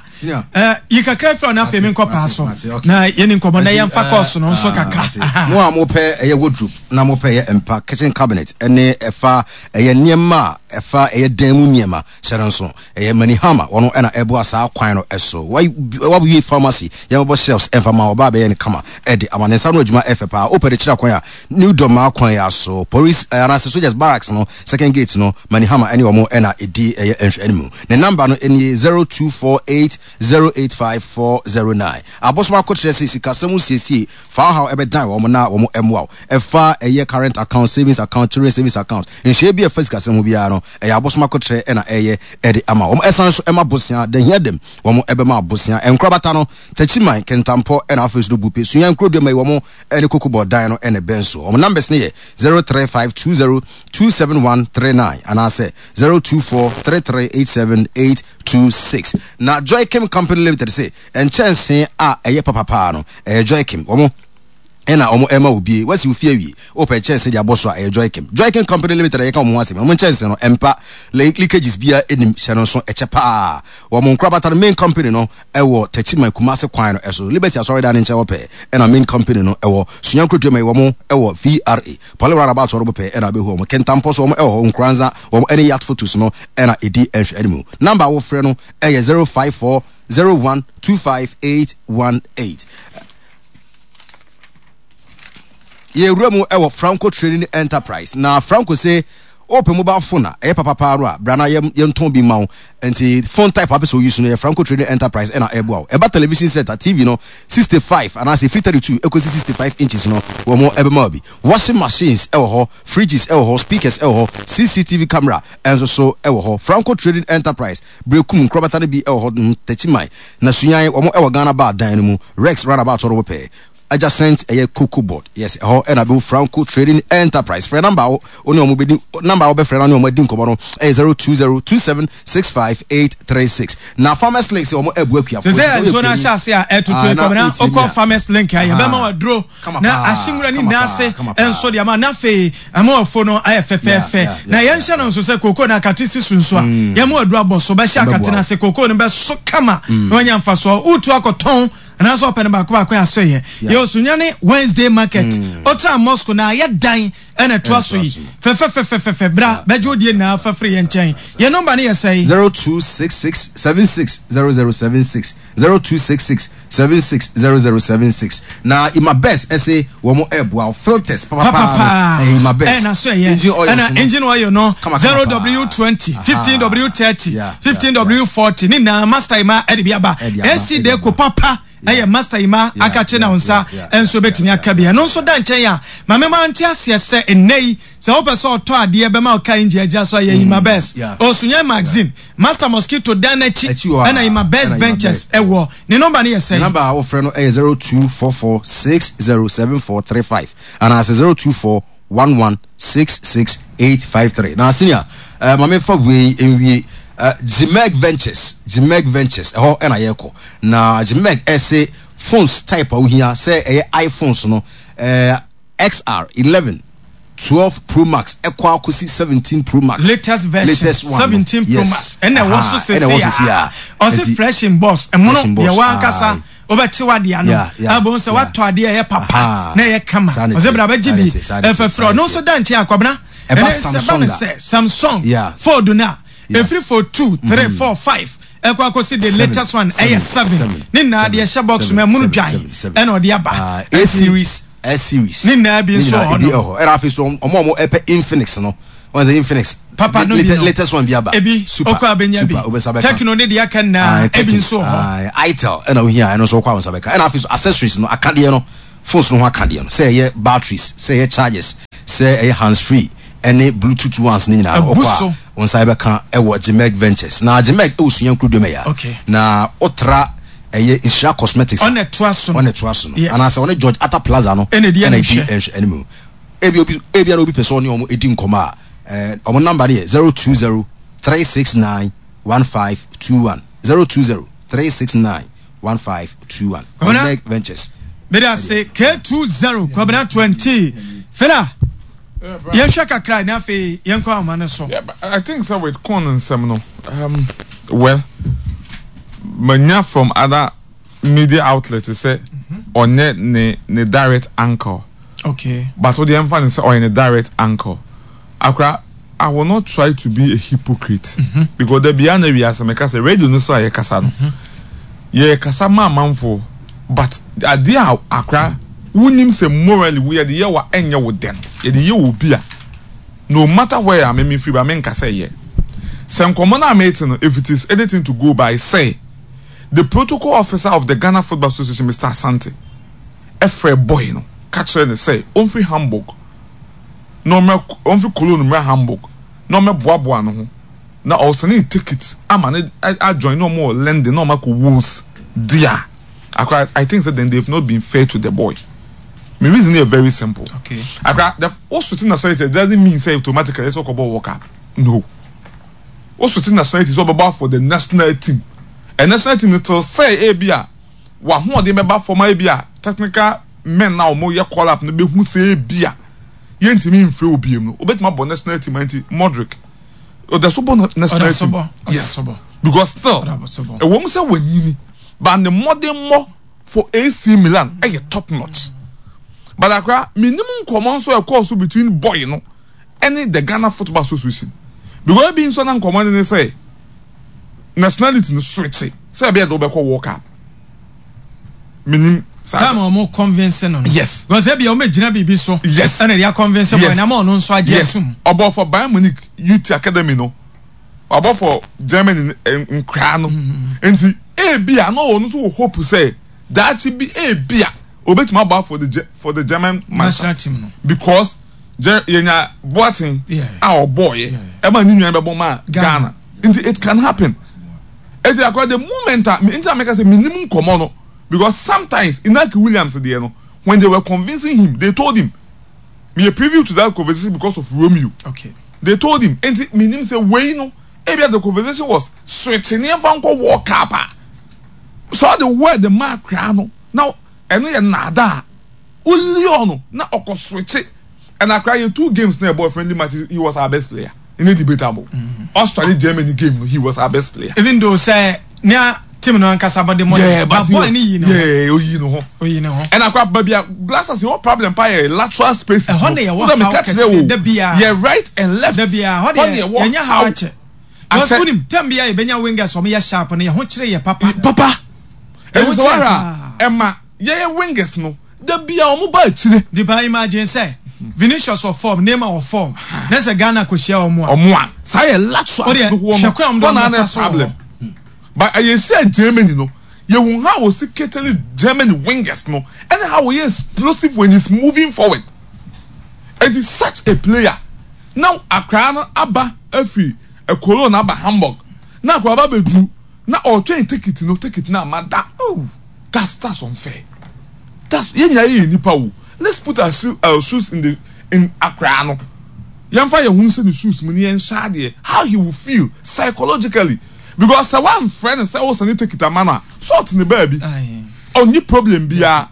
eh, yi kakra firi na afei menkɔ paa so na yɛni nkɔmmɔ na yɛmfa kɔɔso no nso kakra. Mo a mopɛ ɛyɛ wardrobe na mopɛ ɛyɛ mpa, kitchen cabinet ɛne ɛfa ɛyɛ nneɛma a ɛfa ɛyɛ dan mu nneɛma hyɛ no nso ɛyɛ Manihama wɔn ɛna ɛboa saa kwan no ɛso. Wawie pharmacy yɛmɛbɔ shelves ɛmfa ma ɔbaa bɛyɛ no kama ɛde ama ne nsa no adwuma ɛfɛ paa. Wopɛ de kyerɛ kwan a New Dormaa kwan yi aso, Police eh, anaasɛ Soldiers Barracks no second gate no, Manihama ɛne wɔn ɛna ɛdi ɛyɛ nhwɛanimu. Ne number no nie 0248085409. Abosom akokyerɛ se sikasɛm ho siesie fa ɔhaw ɛbɛdan wɔn na wɔn ɛmoa wo. Ɛfa ɛyɛ current account, savings account, children savings account, nhyehyɛeɛ bi a ɛfa sikasɛm ho biara no, ɛyɛ abosom akokyerɛ ɛna ɛyɛ ɛde ama wɔn. Ɛsan nso ɛma bosea, da hia dam, wɔn ɛbɛma bosea. Nkorabata no, Takyiman, Kintampo ɛna afei nso no Bupe, Sunyani, Nkurodua yi wɔn ne Kokobɔ dan no na ɛbɛn so. Wɔn numbers no yɛ 0352027139 anaasɛ 0243387826. Na Joykim Company Limited se nkyɛnsee a ɛyɛ papa paa no, ɛyɛ Joykim. Wɔn ɛna wɔn ɛma wo bie. Wasi wo fie awie, wopɛ nkyɛnsee de abɔ so a, ɛyɛ Joykim. Joykim Company Limited a yɛka wɔn ho asɛm yi, wɔn nkyɛnsee no ɛmpa, leakages biara nnim, hyɛ no nso, ɛkyɛ paa. Wɔn nkorabata no, main company no, ɛwɔ Techiman Kumasi kwan no so, Liberty Asɔredan no nkyɛn hɔ pɛɛ ɛna main company no ɛwɔ. Sunya Nkuroduama yi wɔn ɛwɔ VRA, Poly Roundabout hɔ no pɛɛ ɛna wobɛhu wɔn. Kintampo so wɔn ɛwɔ hɔ, Nkoranza wɔn ɛne Yacht Photos no ɛna ɛdi nhwɛanimu. Number a wofrɛ no ɛyɛ 054 01 25 818. Yɛwura mu ɛwɔ Franco Trading Enterprise na Franco se Wopɛ mobile phone a ɛyɛ papa paa no a, bra na yɛntɔn bi mma wo. Nti phone type a wopɛ sɛ wo use no, yɛ Franco Trading Enterprise ɛna ɛboa wo. Ɛba television set a, TV no, 65 anaasɛ ɛfiri 32 ɛkɔsi 65 inches no, wɔn ɛbɛma wo bi. Washing machines ɛwɔ hɔ, fridges ɛwɔ hɔ, speakers ɛwɔ hɔ, CCTV camera ɛnso so ɛwɔ hɔ. Franco Trading Enterprise, Berekum, nkorabata no bi ɛwɔ hɔ, Techiman, na Sunyani, wɔn ɛwɔ Ghana Bar dan no mu, Rex roundabout hɔ no wopɛ. Adjacent ɛyɛ cocoa board yes ɛhɔ ɛna bɛhu Franco Trading Enterprise frɛ number a wo ne wɔn bɛdi number a wobɛfrɛ na ne wɔn adi nkɔmmɔ no ɛyɛ 0202765836 na Farmers Link sɛ wɔn ɛbu akuafoɔ Sɛ sɛ nsuo no ahyɛ ase a ɛtoto yi kɔmina okɔ Farmers Link a yɛbɛma waduro na ahye nwura ne nyinaa ase nso de ama na afei ama wafo no ayɛ fɛfɛɛfɛ na yɛnhyɛ no nso sɛ kooko no akate si so nso a yɛma waduro abɔ so bɛhyɛ akate no ase kooko no bɛso kama na wanya mfasoɔ wotu akɔtɔn Anaasɛ ɔpɛ no baako baako a so yɛ. Yɛ Osunyane Wednesday market. Otra mosque na ayɛ dan ɛna ɛtoa so yi. Fɛfɛfɛfɛfɛ bra bɛgye wo deɛ nyinaa fa firi yɛn nkyɛn. Yɛn nɔmba no yɛ sɛn? 0266 76 0076 0266 76 0076 Na Imabest ɛse wɔn ɛɛboa wo filters papapaa no ɛyɛ Imabest Ɛna so ɛyɛ engine oils ɛna no engine oil no kama kama paa 0W20 Ahaa 15W30 yeah yeah yeah 15W40 ne nyinaa Master Ima ɛde bi aba Ɛde aba AC ɛde Deco aba papa yeah ɛyɛ Master Ima yeah akakye na yeah wo nsa yeah yeah nso yeah bɛtumi yeah aka bi yeah ɛno nso da nkyɛn a ma mema nte aseɛ sɛ ɛnnɛ yi sɛ wopɛ sɛ ɔtɔ adeɛ bɛma wo car engine agyina so a yɛ Ima Best yeah Osunyan Magazine Master Mosquito dan no akyi Akyi hɔ ɛna Ima a Best ɛna Ima Ventures Best ɛwɔ ne nɔmba no yɛ Ne sɛn? number a wofrɛ no ɛyɛ 0244607435 anaasɛ 0241166853. Na senior, eh, ma memfa wei nwie. Eh, Gmeg Ventures, Gmeg Ventures, ɛhɔ ɛna yɛkɔ. Na Gmeg ɛse phones type a wohia sɛ ɛyɛ iPhones no, eh, XR 11, 12 Pro Max ɛkɔ akɔsi 17 Pro Max. Latest version, Latest one no. 17 Pro Yes. Max ɛna ɛwɔ so Aha, ɛna ɛwɔ sese sese a. a. Ɔse Nti, fresh in box, ɛmono fresh in box, deɛ wankasa aye. wobɛte w'adeɛ ano Yeah, yeah, abom sɛ yeah. woatɔ adeɛ ɛyɛ papa Aha. na ɛyɛ kama Saa na ɔsɛ ɛteɛ, bra bɛgye saa na bi ɛteɛ, saa na ɛteɛ, ɛfɛfrɛ saa na ɔno nso ɛteɛ. da nkyɛn akwabena Ɛba ɛnɛ sɛ ba Samsung no a. sɛ Samsung Yeah. fold no a Yeah. ɛfiri fold 2 3 4 5 ɛkɔ akɔsi the latest one ɛyɛ 7 ne nyinaa deɛ ɛhyɛ box mu ɛmono dwan ɛna ɔde aba. Ah, A series, S series. Ne nyinaa bi nso wɔ hɔ nom. Ɛna afei so ɔmo a ɔmo ɛpɛ Infinix no. Wɔn sɛ Infinix. Papa no bi no. Latest one bi aba. Ebi Super. okɔ abenya bi. Super obesa bɛka. Tecno ne deɛ aka nyinaa ebi nso wɔ hɔ. Itel ɛna ohia ɛno nso ɔkɔ a wɔn nsa bɛka. Ɛna afei so accessories no akadeɛ no phones no ho akadeɛ no sɛ ɛyɛ batteries sɛ ɛyɛ chargers sɛ ɛyɛ hands free ɛne bluetooth ones ne nyinaa no Abu ɔkɔ a so. wɔn nsa bɛka ɛwɔ Gmeg Ventures. Na Gmeg ɛwɔ Sunya Nkuruduam ɛya. Okay. Na otra ɛyɛ Nhyira Cosmetics a Ɔna ɛtoa so no. ɔna ɛtoa so no. Yes. Anaasɛ ɔne George Atta Plaza no Ɛna ɛdi ɛna ɛdi animhwɛ. nhwɛ anim. Ebia obi ebia na obi pɛ sɛ ɔne wɔn di nkɔmmɔ a, ɛɛ wɔn namba no yɛ 020 369 1521 020 369 1521. Kwabena. Omeg Ventures. Mede ase K20 Kwabena 20 Fela yɛnhwɛ kakra na afei yɛnkɔ ahoma no so. Yeah, but I think so with corn nsɛm no um, well manya from other media outlets sɛ ɔnyɛ ne ne direct uncle. Okay. But wo deɛ mfa ne sɛ ɔyɛ ne direct uncle. Akora, I will not try to be a hypocrite. Mm -hmm. Because da bia na wiase meka sɛ radio no so a yɛkasa no. Mm -hmm. Yɛkasa ma amanfoɔ but adeɛ a akora wonim sɛ morally wo yɛde yɛ wa ɛnyɛ wo dɛn. Yɛde yɛ wɔ bi a no matter where a meme firi ba menka sɛ yɛ. Sɛ nkɔmmɔ no a mete no if it is anything to go by sɛ the protocol officer of the Ghana Football Association Mr. Asante frɛɛ boy no ka kyerɛɛ no sɛ ɔmfiri Hamburg na ɔmmra ɔmfiri Cologne mmra Hamburg na ɔmmɛboaboa ne ho na ɔresɛne ne ticket ama no ajoin ne ɔmo wɔ London na ɔmo akɔ Wolves dea akora I think sɛ then they've not been fair to the boy me reason yɛ very simple okay. akora the wo switch nationality it doesn't mean sɛ automatically ɛsɛ ɔkɔbɔ World Cup no wo switch nationality sɛ ɔbɛbɔ for the national team and national team no till sɛ ebi a w'ahoɔden bɛba fam a ebia technical men a wɔyɛ call up no bɛhu sɛ ebia yɛntumi mfrɛ wo biom no, wobɛtumi abɔ national team nti Modric ɔda so bɔ national team yes because still ɛwɔ mu sɛ wanyini but ne mmɔdenmmɔ for AC Milan ɛyɛ top notch but akora menim nkɔmmɔ nso ɛkɔɔ so between boy no ɛne the Ghana Football Association because ebi nso na nkɔmmɔ no ne sɛ nationality no switch sɛ ɛbɛyɛ de wobɛkɔ World Cup menim saa time a wɔn convince no no yes because ebi a wɔn gyina biribi so yes ɛna ɛde convince boy na ama ɔno nso agye yes atum ɔbɔ for Bayern Munich youth academy no wabɔ for Germany nkoraa no nti ebi a na ɔno nso wɔ hope sɛ daakye bi ebi a obetumi abɔ for the for the German national team no because yɛnya Boateng a ɔbɔɔyɛ ɛma ne nua bɛbɔ ma Ghana nti it can happen eti akora the moment a nti a meka sɛ menim nkɔmɔ no because sometimes Inaki Williams deɛ no when they were convincing him they told him me a preview to that conversation because of Romeo okay they told him nti menim sɛ wei no ebia the conversation was switch nneɛma nkɔ World Cup a so the word ma akora no na ɛno yɛ naadaa Olio no na ɔkɔ switch ɛna akora yɛ two games na ɛbɔ friendly matches he was our best player ɛnyɛ debatable Austria ne Germany game no he was our best player. Even though sɛ nea team no ankasa bɔ de mɔ yeah, but boy ne yi ne ho yeah oyi ne ho oyi ne ho ɛna akora baabi a Blasters yɛ wɔ problem pa yɛ lateral spaces ɛhɔ na yɛ wɔ haw kɛse da bia yɛ right and left da bia hɔ deɛ yɛnyɛ haw akyɛ because wonim tɛm bia yɛbɛnya wingers ɔmo yɛ sharp no yɛ ho kyerɛ yɛ papa papa ɛsɛ sɛ wɔhwɛ a ɛma Yɛyɛ wingers no da bia ɔmo ba akyire. De ba imagine sɛ Vinicius wɔ form, Neymar wɔ form na sɛ Ghana kɔ hyia ɔmo a. Ɔmo a. Saa yɛ lateral Wodeɛ no hɔ no hwɛ kwan a ɔmo de hɔ na ɔmo na fa so wɔ problem. hɔ. But ɛyɛ hyia Germany no yɛhu how ɔsi ketele Germany wingers no ɛne how ɔyɛ explosive when he's moving forward. Enti such a player na akwadaa no aba afiri Cologne aba Hamburg na akwadaa aba abɛduru na ɔretwɛn ticket no ticket no amma da. Oh. That's that's unfair. That's yɛn nyinaa yɛ nipa o. Let's put our, shoe, our shoes in the in akwaraa no. Yɛnfa yɛn ho nhyɛ ne shoes mu ne yɛn hwɛ adeɛ how he will feel psychologically because sɛ wamfrɛ no sɛ ɔsɛ ne ticket ama no a so ɔte ne baabi ɔnye problem biara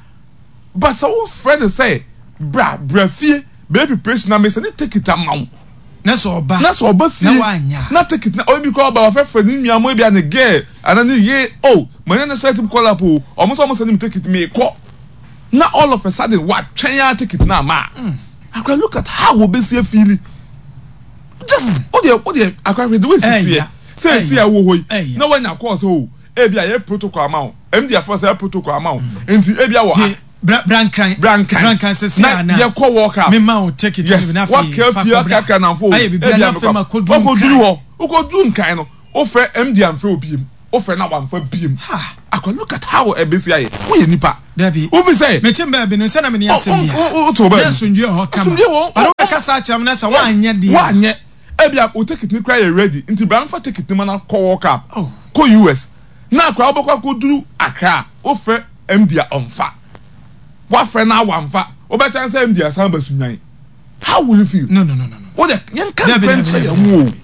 but sɛ wofrɛ no sɛ bra bra fie bɛyɛ preparation na mesɛ ne ticket ama wo na sɛ ɔba na sɛ ɔba fie na wanya na ticket na obi kɔ ɔba wafɛfrɛ ne nua mo ebi a ne girl ana ne ye oh manya ne sɛ team call up o ɔmo sɛ ɔmo sɛ ne me ticket me kɔ na all of a sudden watwɛn a ticket na ama mm. akora look at how obesi afeeli just o deɛ o deɛ akora hwɛ the way esi teɛ. Sɛ esi a ɛwɔ hɔ yi na wanya kɔɔ sɛ o ebi a yɛ protocol ama wo MD afɔ sɛ yɛ protocol ama wo nti ebi a wɔ a. Brankran Brankran sisi na ana yɛ kɔ World Cup mema wo ticket yes no bi na afei wakra fa fie kɔbra akrakra namfo o ayɛ biribi ebi na a afei mekɔ ma kɔduru wakɔduru Nkran hɔ wokɔduru Nkran no wofrɛ MD amfrɛ wo biem wofrɛ na wamfa biem akwa look at how ɛbɛsi ayɛ woyɛ nipa Dabi wofi sɛ mete baabi no sɛ na mene asɛm bi a wote wo na baabi asomdwie wɔ hɔ kama asomdwie wɔ ɔno wobɛkasa akyerɛ me na sɛ yes woanyɛ deɛ a woanyɛ Ebia wo ticket no koraa yɛ ready nti bra mfa ticket no ma na kɔ World Cup, Oh. kɔ US. Na koraa wobɛkɔ akɔduru Accra a, wofrɛ MD a ɔmfa. Woafrɛ no a wamfa. Wobɛkyɛn sɛ MD asan aba Sunyani. How will you feel? No, no, no, no, no. Wo deɛ yɛnka Dabi, nokorɛ dabi, nkyerɛ dabi, yɛn ho o. dabi.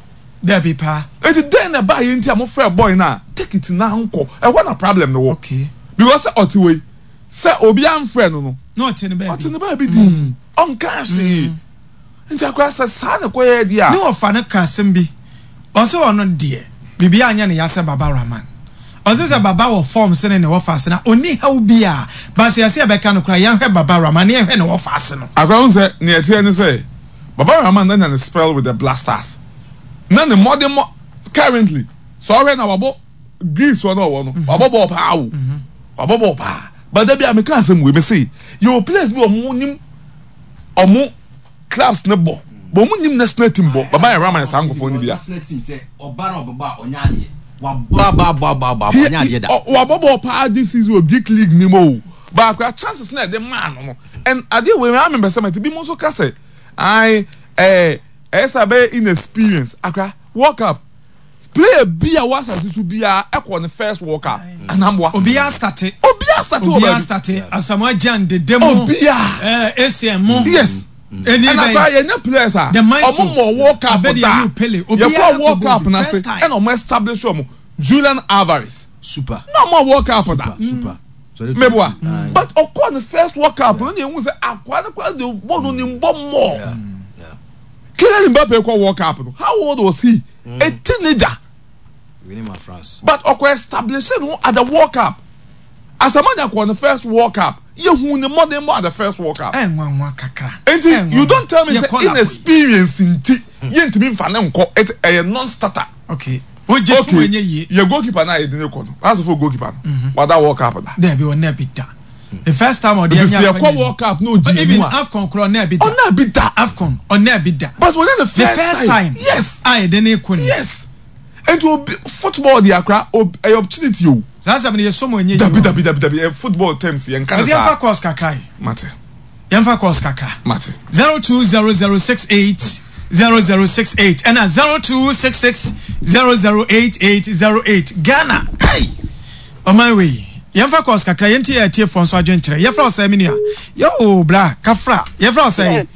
Dabi paa. Enti dɛn na ɛbaeɛ nti a mofrɛɛ boy no a ticket no ankɔ? Ɛhɔ na problem no wɔ. Okay. Because sɛ ɔte hɔ yi, sɛ obi amfrɛ no no, Na ɔte ne baabi. ɔte ne baabi dinn, ɔnkaa hwee. Nti akora sɛ saa na ɛkɔyɛɛ deɛ a. Ne wɔfa no ka asɛm bi, ɔse ɔno deɛ biribiara nyɛ ne ya sɛ Baba Rahman. Ɔse sɛ Baba wɔ form sene ne wɔfa ase no a ɔnni haw biaa, but sɛ yɛse yɛbɛka no koraa yɛnhwɛ Baba Rahman na yɛnhwɛ ne wɔfa ase no. Akora wohu sɛ nea ɛteɛ ne sɛ Baba Rahman anya ne spell with the Blasters na ne mmɔdemmɔ currently sɛ ɔhwɛ na wabɔ Greece hɔ na ɔwɔ no wabɔ bɔɔl paa o wabɔ bɔɔl paa but da bi a meka asɛm wei mese yɛwɔ players bi ɔmo nim ɔmo clubs ne bɔ but ɔmo nim national team bɔ baba yɛ rama saa nkɔfoɔ no bi a. Wabɔ bɔɔl paa this season wɔ Greek league ni mu o but akora chances na ɛde maa no no and adeɛ wei maa mi mpɛ sɛ mɛte bi mo nso ka sɛ ae ɛɛ ɛyɛ sɛ abɛyɛ inexperience akora World Cup. Player bi a wɔ asase so biara ɛkɔ ne first World Cup anamboa. Obiara starte. Obiara starte wɔ baabi. Obiara starte. Asamoah Gyan dede mu. Obiara. Ɛɛ Essien mo. Yes. Ɛni Ɛna bɛn. koraa yɛnyɛ players a. The maestro. Ɔmo mɔ World Cup Abedi da. Ayew Pele. Obiara Yɛkɔ World kɔ Cup bɔ bi. n'ase First time. ɛna ɔmo establish ɔmo. Julian Alvarez. Super. Na ɔmo World Cup da. Super. Super. Meboa. But ɔkɔ ne first World Cup no na ehu sɛ akoa no koraa de bɔ no ne mbɔ mɔɔ. Kylian Mbappe kɔ World Cup no, how old was he? Mm. A teenager. But ɔkɔ establish no at the World Cup. Asamanya kɔ ne first World Cup. Yehu ne mmɔden bɔ at the first World Cup. Ɛnwanwa kakra. Nti you don't tell me say inexperience nti yɛntumi nfa ne nkɔ. It's ɛyɛ non-starter. Okay. Ogye tu enye yie. Yɛ goalkeeper na yɛde ne kɔ no. Asofo goalkeeper no. Mhm. Wada World Cup da. Dɛbi ɔnna bi da. The first time ɔde anya akɔnya ni. World Cup no ogyina mu a. Even AFCON kura ɔnna bi da. Ɔnna bi da. AFCON ɔnna bi da. But wɔnyɛ the first time. The first time. Yes. A yɛde ne kɔ ni. Yes. Nti obi football di akora obi ɛyɛ opportunity o. Saa asɛm no yɛ so mo enye yi. Dabi dabi dabi dabi ɛ football terms yɛn nka ne saa. Ɛsɛ yɛn fa course kakra yi. Mate. Yɛn fa course kakra. Mate. 020068 0068 ɛna 0266 008808 Ghana. Hey. Ɔman wei, yɛmfa course kakra, yɛntie yɛn atiefoɔ nso adwenkyerɛ. Yɛfrɛ wo sɛn me nua? Yoo bra, kafra. Yɛfrɛ wo sɛn?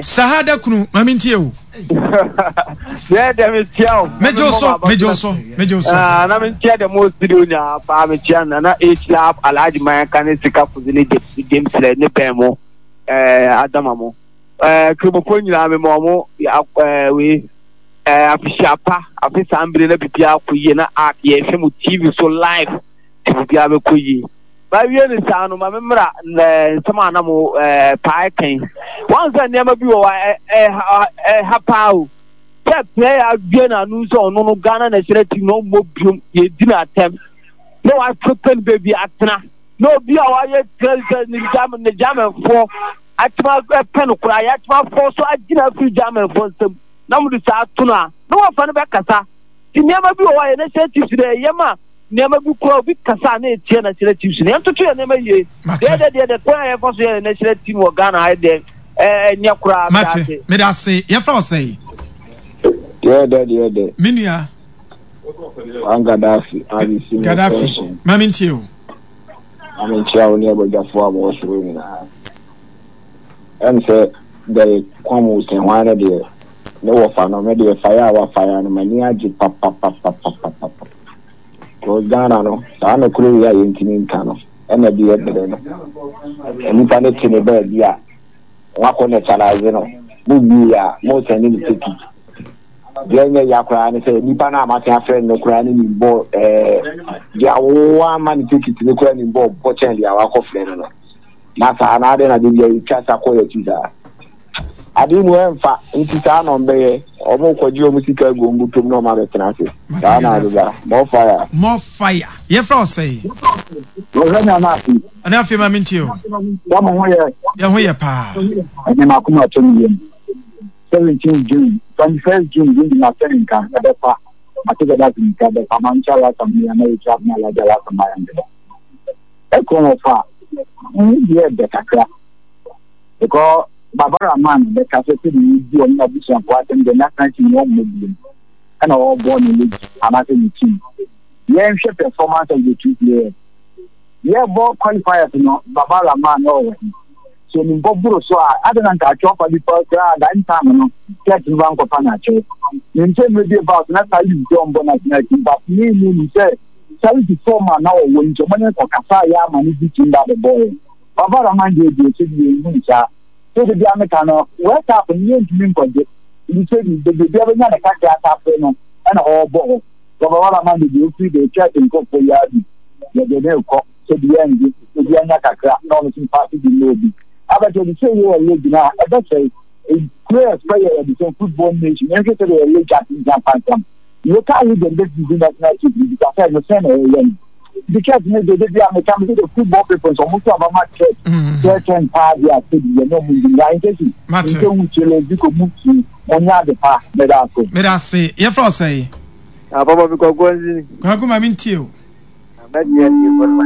Sahada kunu, ma mentie o. Deɛ deɛ metia o. Megye wo so, megye wo so, megye wo so. Ah, na mentia deɛ mo studio nyinaa paa metia na na H Lab Alhaji Mayanka ne Sika Fuzi ne James Lɛ ne bɛn mo ɛɛ Adama mo ɛɛ Kramofoɔ nyinaa mema ɔmo ɛɛ wei. Eh, afehyia pa, afe saa mbere na biribiara kɔ yie na ark yɛhwɛ mo TV so live nti biribiara bɛkɔ yie. Mawie ne saa no, ma me mmra eh, nsɛm a na mo eh, paa kan. Wɔn sɛ nneɛma bi wɔ hɔ a ɛha paa o. Sɛ player adue n'ano sɛ ɔno no Ghana national team na ɔmmɔ biom, yɛdi no atɛm na wasepɛ no baabi atena na obi a wayɛ sɛ ne Germanfoɔ atema pɛ no koraa yɛatema afɔ so agyina afiri Germanfoɔ nsam. na wɔde saa to no a, na wɔafa no bɛkasa. Nti nneɛma bi wɔ hɔ a yɛn national chiefs no ɛyɛ ma nneɛma bi koraa obi kasa a na ɛtia national chiefs no. Yɛntoto yɛn nneɛma yie. Deɛ deɛ deɛ deɛ kwan a yɛfa so yɛ national team wɔ Ghana ha deɛ ɛnyɛ koraa. Mate, meda ase. Yɛfrɛ wo sɛn? Deɛ dɛ deɛ dɛ. Me nua. Wan Gaddafi, abisi me Gaddafi, ma mentie o. Ma menkyia wo ne abadwafoɔ a wɔwɔ soro nyinaa. Ɛm sɛ Derek Kwam Osei-Hwan no deɛ, ne wɔfa no, me deɛ fire a wafire no, m'ani agye papapapapapapa. Because Ghana no, saa nokorɛ wei a yɛntumi nka no, ɛna ɛde yɛ brɛ no. Nnipa no te ne baabi a, moakɔ neutralize no, mo wie a, mo sɛne no ticket. Deɛ ɛnyɛ ya koraa ne sɛ, nipa no a masen afrɛ no koraa no nim bɔ ɛɛ, deɛ awowa ama no ticket no koraa nim bɔ bɔ kyɛn deɛ wakɔfrɛ no no. Na saa na adɛn na da biara yɛtwa sa kɔ yɛn akyi saa? Ade mu ɛmfa, nti saa na ɔmbɛyɛ. Ɔmo kɔgye ɔmo sika agu ɔmo bɔtɔm na ɔmo abɛtena ase. Saa na adeda. More fire. More fire. Yɛfrɛ wo sɛn? Wɔhwɛ me ana afi. Ɛna afei ma mentie o. Sɛ mo ho yɛ. Yɛ ho yɛ paa. Ɛnɛ m'akoma atɔ me yam. 17 June, 21st June bi na sɛ nka ɛbɛfa. Mate sɛ dase nka ɛbɛfa. Mankyɛ lasa mi ana yɛtwa abena lagya lasa ma yɛn deda. Ɛkɔ wɔ fa. Ne deɛ ɛdɛ kakra. Because Baba Rahman bɛka sɛ sɛdeɛ yɛdi ɔne n'abusuafoɔ asɛm deɛ national team no ɔmmɔ biom ɛna ɔrebɔ ne league anaasɛ ne team. Yɛnhwɛ performance of the two players. Yɛbɔ qualifiers no Baba Rahman na ɔwɔ he? Sɛ onim bɔ boro so a adɛn na nka atwerɛ fa bi pa koraa that time no church no bankɔfa no akyɛw. Menim sɛ mmerɛ bi about na Salif sɛ ɔmbɔ national team but me menim sɛ Salif form a na ɔwɔ nti ɔmo ne kɔkasa yɛ ama no di team ba bɛbɔɔyɛ. Papa Rahman deɛ deɛ sɛbi yɛn hu no saa. Sɛ de bia meka no World Cup no yɛn ntumi nkɔgye. Nti sɛbi baabi obia bɛnya ne kakra atafere no ɛna ɔɔbɔ hɔ. Papa Rahman deɛ deɛ ofiri deɛ church nkorɔfoɔ yi ara bi yɛde no rekɔ sɛbi yɛn ngye obia nya kakra na ɔno nso mpaase bi mma obi. Abɛtɛ de sɛ yɛ wɔ league no a ɛbɛsɛe. Players pɛ yɛ yɛde sɛ football nation yɛnhwɛ sɛdeɛ yɛ league atentam pansam. Local league and bɛtumi di national team no bisa sɛ no sɛn na ɛyɛ no. The church ne de de bi a meka me de football people nso ɔmo to aba ma church church and paa bi a sɛbi yɛ ne ɔmo ndi nea nkyɛ si nkyɛ hu kyele bi ko mu ti mo nya ade pa meda ase. Meda ase yɛfrɛ wo sɛn. Apapa bi kwaku anzini. Kwaku ma me ntie o. Mɛdeɛ deɛ bɔ no ma.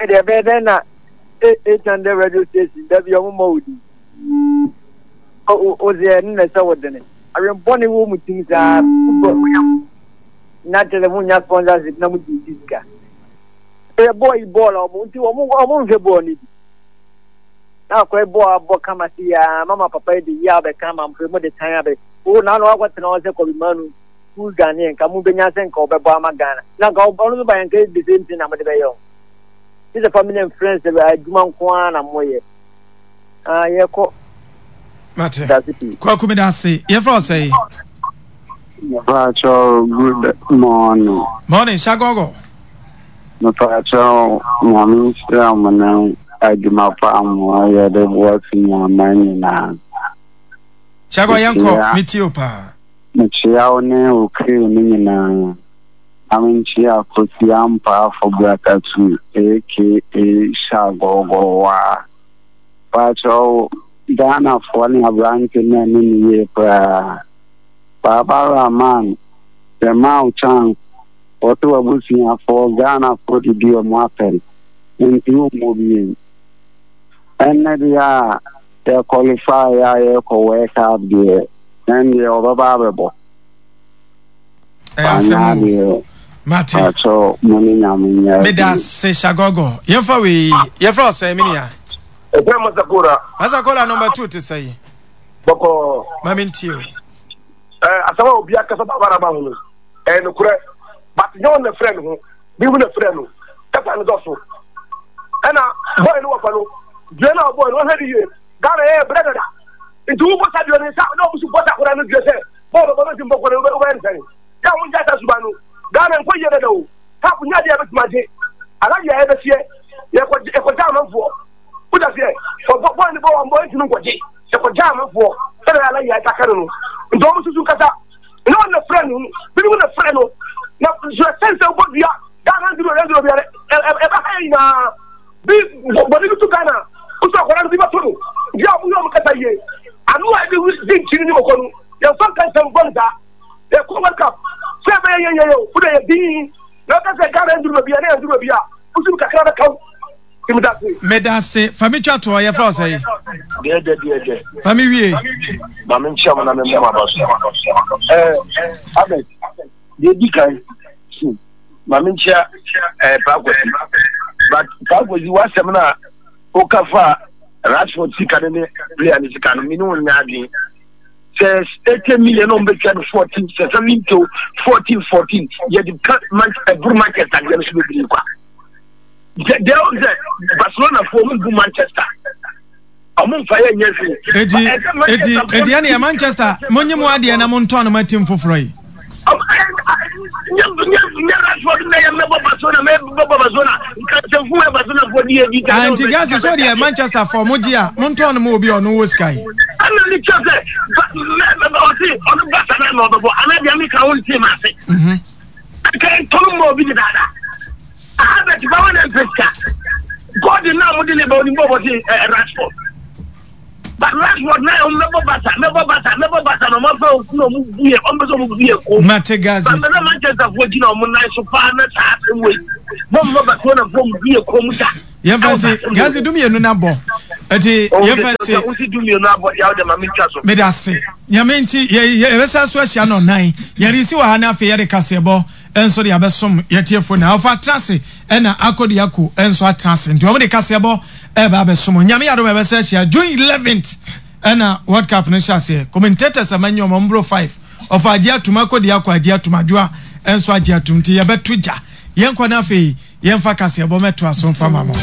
Ɛdeɛ ɛbɛyɛ dɛn na 800 radio station da bi ɔmo mmɔ wo din. O sɛ ɛno na ɛsɛ wo dene. Awɛn bɔne wɔ mu tim saa football mo yɛ na kyerɛ sɛ monya sponsorship na mode di sika. Ɛyɛ bɔɔl yi bɔɔl a ɔmo nti ɔmo ɔmo nhwɛ bɔɔl no bi. Na akɔyɛ bɔɔl abɔ kama se ya mama papa yi de yi abɛka ama mfe mo de tan abɛ. O na ano akɔtena hɔ sɛ Kobe Manu who Ghanaian nka mo benya sɛ nka ɔbɛbɔ ama Ghana. Na nka ɔno nso ba yɛn nka the same thing na mo de bɛyɛ o. Gye sɛ family and friends adwuma nko ara na moyɛ. Ah yɛkɔ. Mate. Kwaku meda ase. Yɛfrɛ wo sɛn? Mepakyɛw good morning. Morning Shagogo. Mepakyɛw nyame nhyira mo ne adwuma pa mo yɛ de boa fi nyama nyinaa. Shago yɛnkɔ metie o paa. Mekyia wo ne wo crew no nyinaa. Na menkyia Kofi Ampaafo Brakatu aka Shagogo waa. Pakyɛw Ghanafoɔ ne aberante no anni no yie koraa. Baba Rahman yɛmaa wo chance wɔse w'abusuafoɔ Ghanafoɔ didi ɔmo atɛn nti wommɔ biem. Ɛnnɛ deɛ a yɛ qualify a yɛkɔ World Cup deɛ ɛndeɛ ɔbɛba abɛbɔ. Ɛyɛ asɛm o. Mate. Pakyɛw mo ne Nyame nyɛ Meda ase Shagogo. Yɛmfa wei yɛfrɛ wo sɛn me nua? Ɛfrɛ Masakola. Masakola number 2 te sɛn? Bɔkɔɔ. Ma me ntie o. Ɛɛ asɛm a obi akasa ba bara ma ho no ɛyɛ nokorɛ but nyɛ wɔn na frɛ ne ho bi mu na frɛ no kasa no dɔso ɛna bɔyɛ no wɔfa no dua no a ɔbɔyɛ no ɔhwɛ ne yie Ghana yɛyɛ brɛ dada nti wobɔ sa dua no nsa na ɔmo so bɔ sa akɔda no dua sɛ bɔɔl bɔbɔ no nti mbɔ kɔ no wobɛyɛ no sɛn yɛ a mo ngya sa suban no Ghana nkɔ yie dada o cup nyɛ adeɛ a yɛbɛtumi agye aladeɛ a yɛbɛseɛ yɛkɔgya amanfoɔ wogya seɛ ɔbɔ bɔɔl ne bɔ wɔn bɔ ntumi nkɔgye yɛkɔgya amanfoɔ sɛdeɛ ala yɛ aka no no nti wɔn susu nkasa ne wɔn na frɛ no binom na frɛ no na sɛ sɛn sɛ wobɔ dua Ghana nduro yɛ nduro biara ɛbɛ ha yɛ nyinaa bi bɔne bi to Ghana wosɛ akwadaa no bi bɛto no nti a wɔyɛ wɔn kasa yie ano a ɛde di nkyini ne mɔkɔ no yɛmfa nka nsɛm bɔne saa yɛkɔ World Cup sɛ ɛbɛyɛ yɛn yɛyɛ o wode yɛ din na ɔka sɛ Ghana nduru baabi a na yɛnduru baabi a wosim kakra bɛka wo Medase. Fa me twa toɔ yɛfrɛ wo sɛn? Deɛdɛ deɛdɛ. Fa me wie. Ma me nkyia mo na me mmɔ m'aba so. Ɛɛ Ahmed, deɛ di kan, ma me nkyia ɛɛ Paa Kwasi. But Paa Kwasi w'asɛm no a woka fa Rashford sika no ne player no sika no, me ne wo nyɛ adwene. Sɛ 80 million na wɔbɛtwa no 14, sɛ 70 14 14, yɛde ka ɛboro Manchester deɛ no so bebree kwa. Deɛ ɔn sɛ Barcelona foɔ ɔmo bu Manchester ɔmo nfa yɛ nyɛ hwee. Eti eti eti ɛne yɛ Manchester mo nye mo adeɛ na mo ntɔn no ma team foforɔ yi. Nti gasi so deɛ Manchester fɔ mo gye a mo ntɔn no ma obi a ɔno wɔ sika yi. de kyerɛ sɛ ɔse ɔno basa na na ɔbɛbɔ anaa deɛ meka wo ntee ma ase. Anka ntɔno ma obi dedaada. Albert ba wa na mpɛ sika. Gordon na ɔmo de ne ba onim bɔ ɔbɔ se Rashford. But Rashford na ɔmo mɛbɔ basa mɛbɔ basa mɛbɔ basa na ɔmo afa ofu na ɔmo bu yɛ ɔmo pɛ sɛ ɔmo bu yɛ ko. Mate Gazi. But na Manchester foɔ gyina ɔmo nan so paa na saa asɛm wei. Bɔm bɔ Barcelona foɔ ɔmo bu yɛ kɔn mu da. Yɛmfa nsi Gazi dumienu na bɔ. Ɛti yɛmfa nsi. Wosi dumienu abɔ deɛ ɔde ma mi twa so. Meda ase. Nyame nti yɛ yɛbɛsa so ahyia no ɔnan. Yɛde si wɔ ha na afei yɛde kaseɛbɔ nso de abɛsom yɛtiefo na ɔfa atena ase ɛna akɔdi ako nso atena ase. Nti wɔn de kaseɛbɔ ɛreba abɛsom. Nyame yɛ adom a yɛbɛsa ahyia June 11th ɛna World Cup no hyɛ aseɛ. Commentators a manya wɔn mboro 5. Ɔfa agye atum akɔdi akɔ agye atum adwoa nso agye atum nti yɛbɛto gya. Yɛnkɔ na afei yɛmfa kaseɛbɔ mɛtoa so mfa ma mo.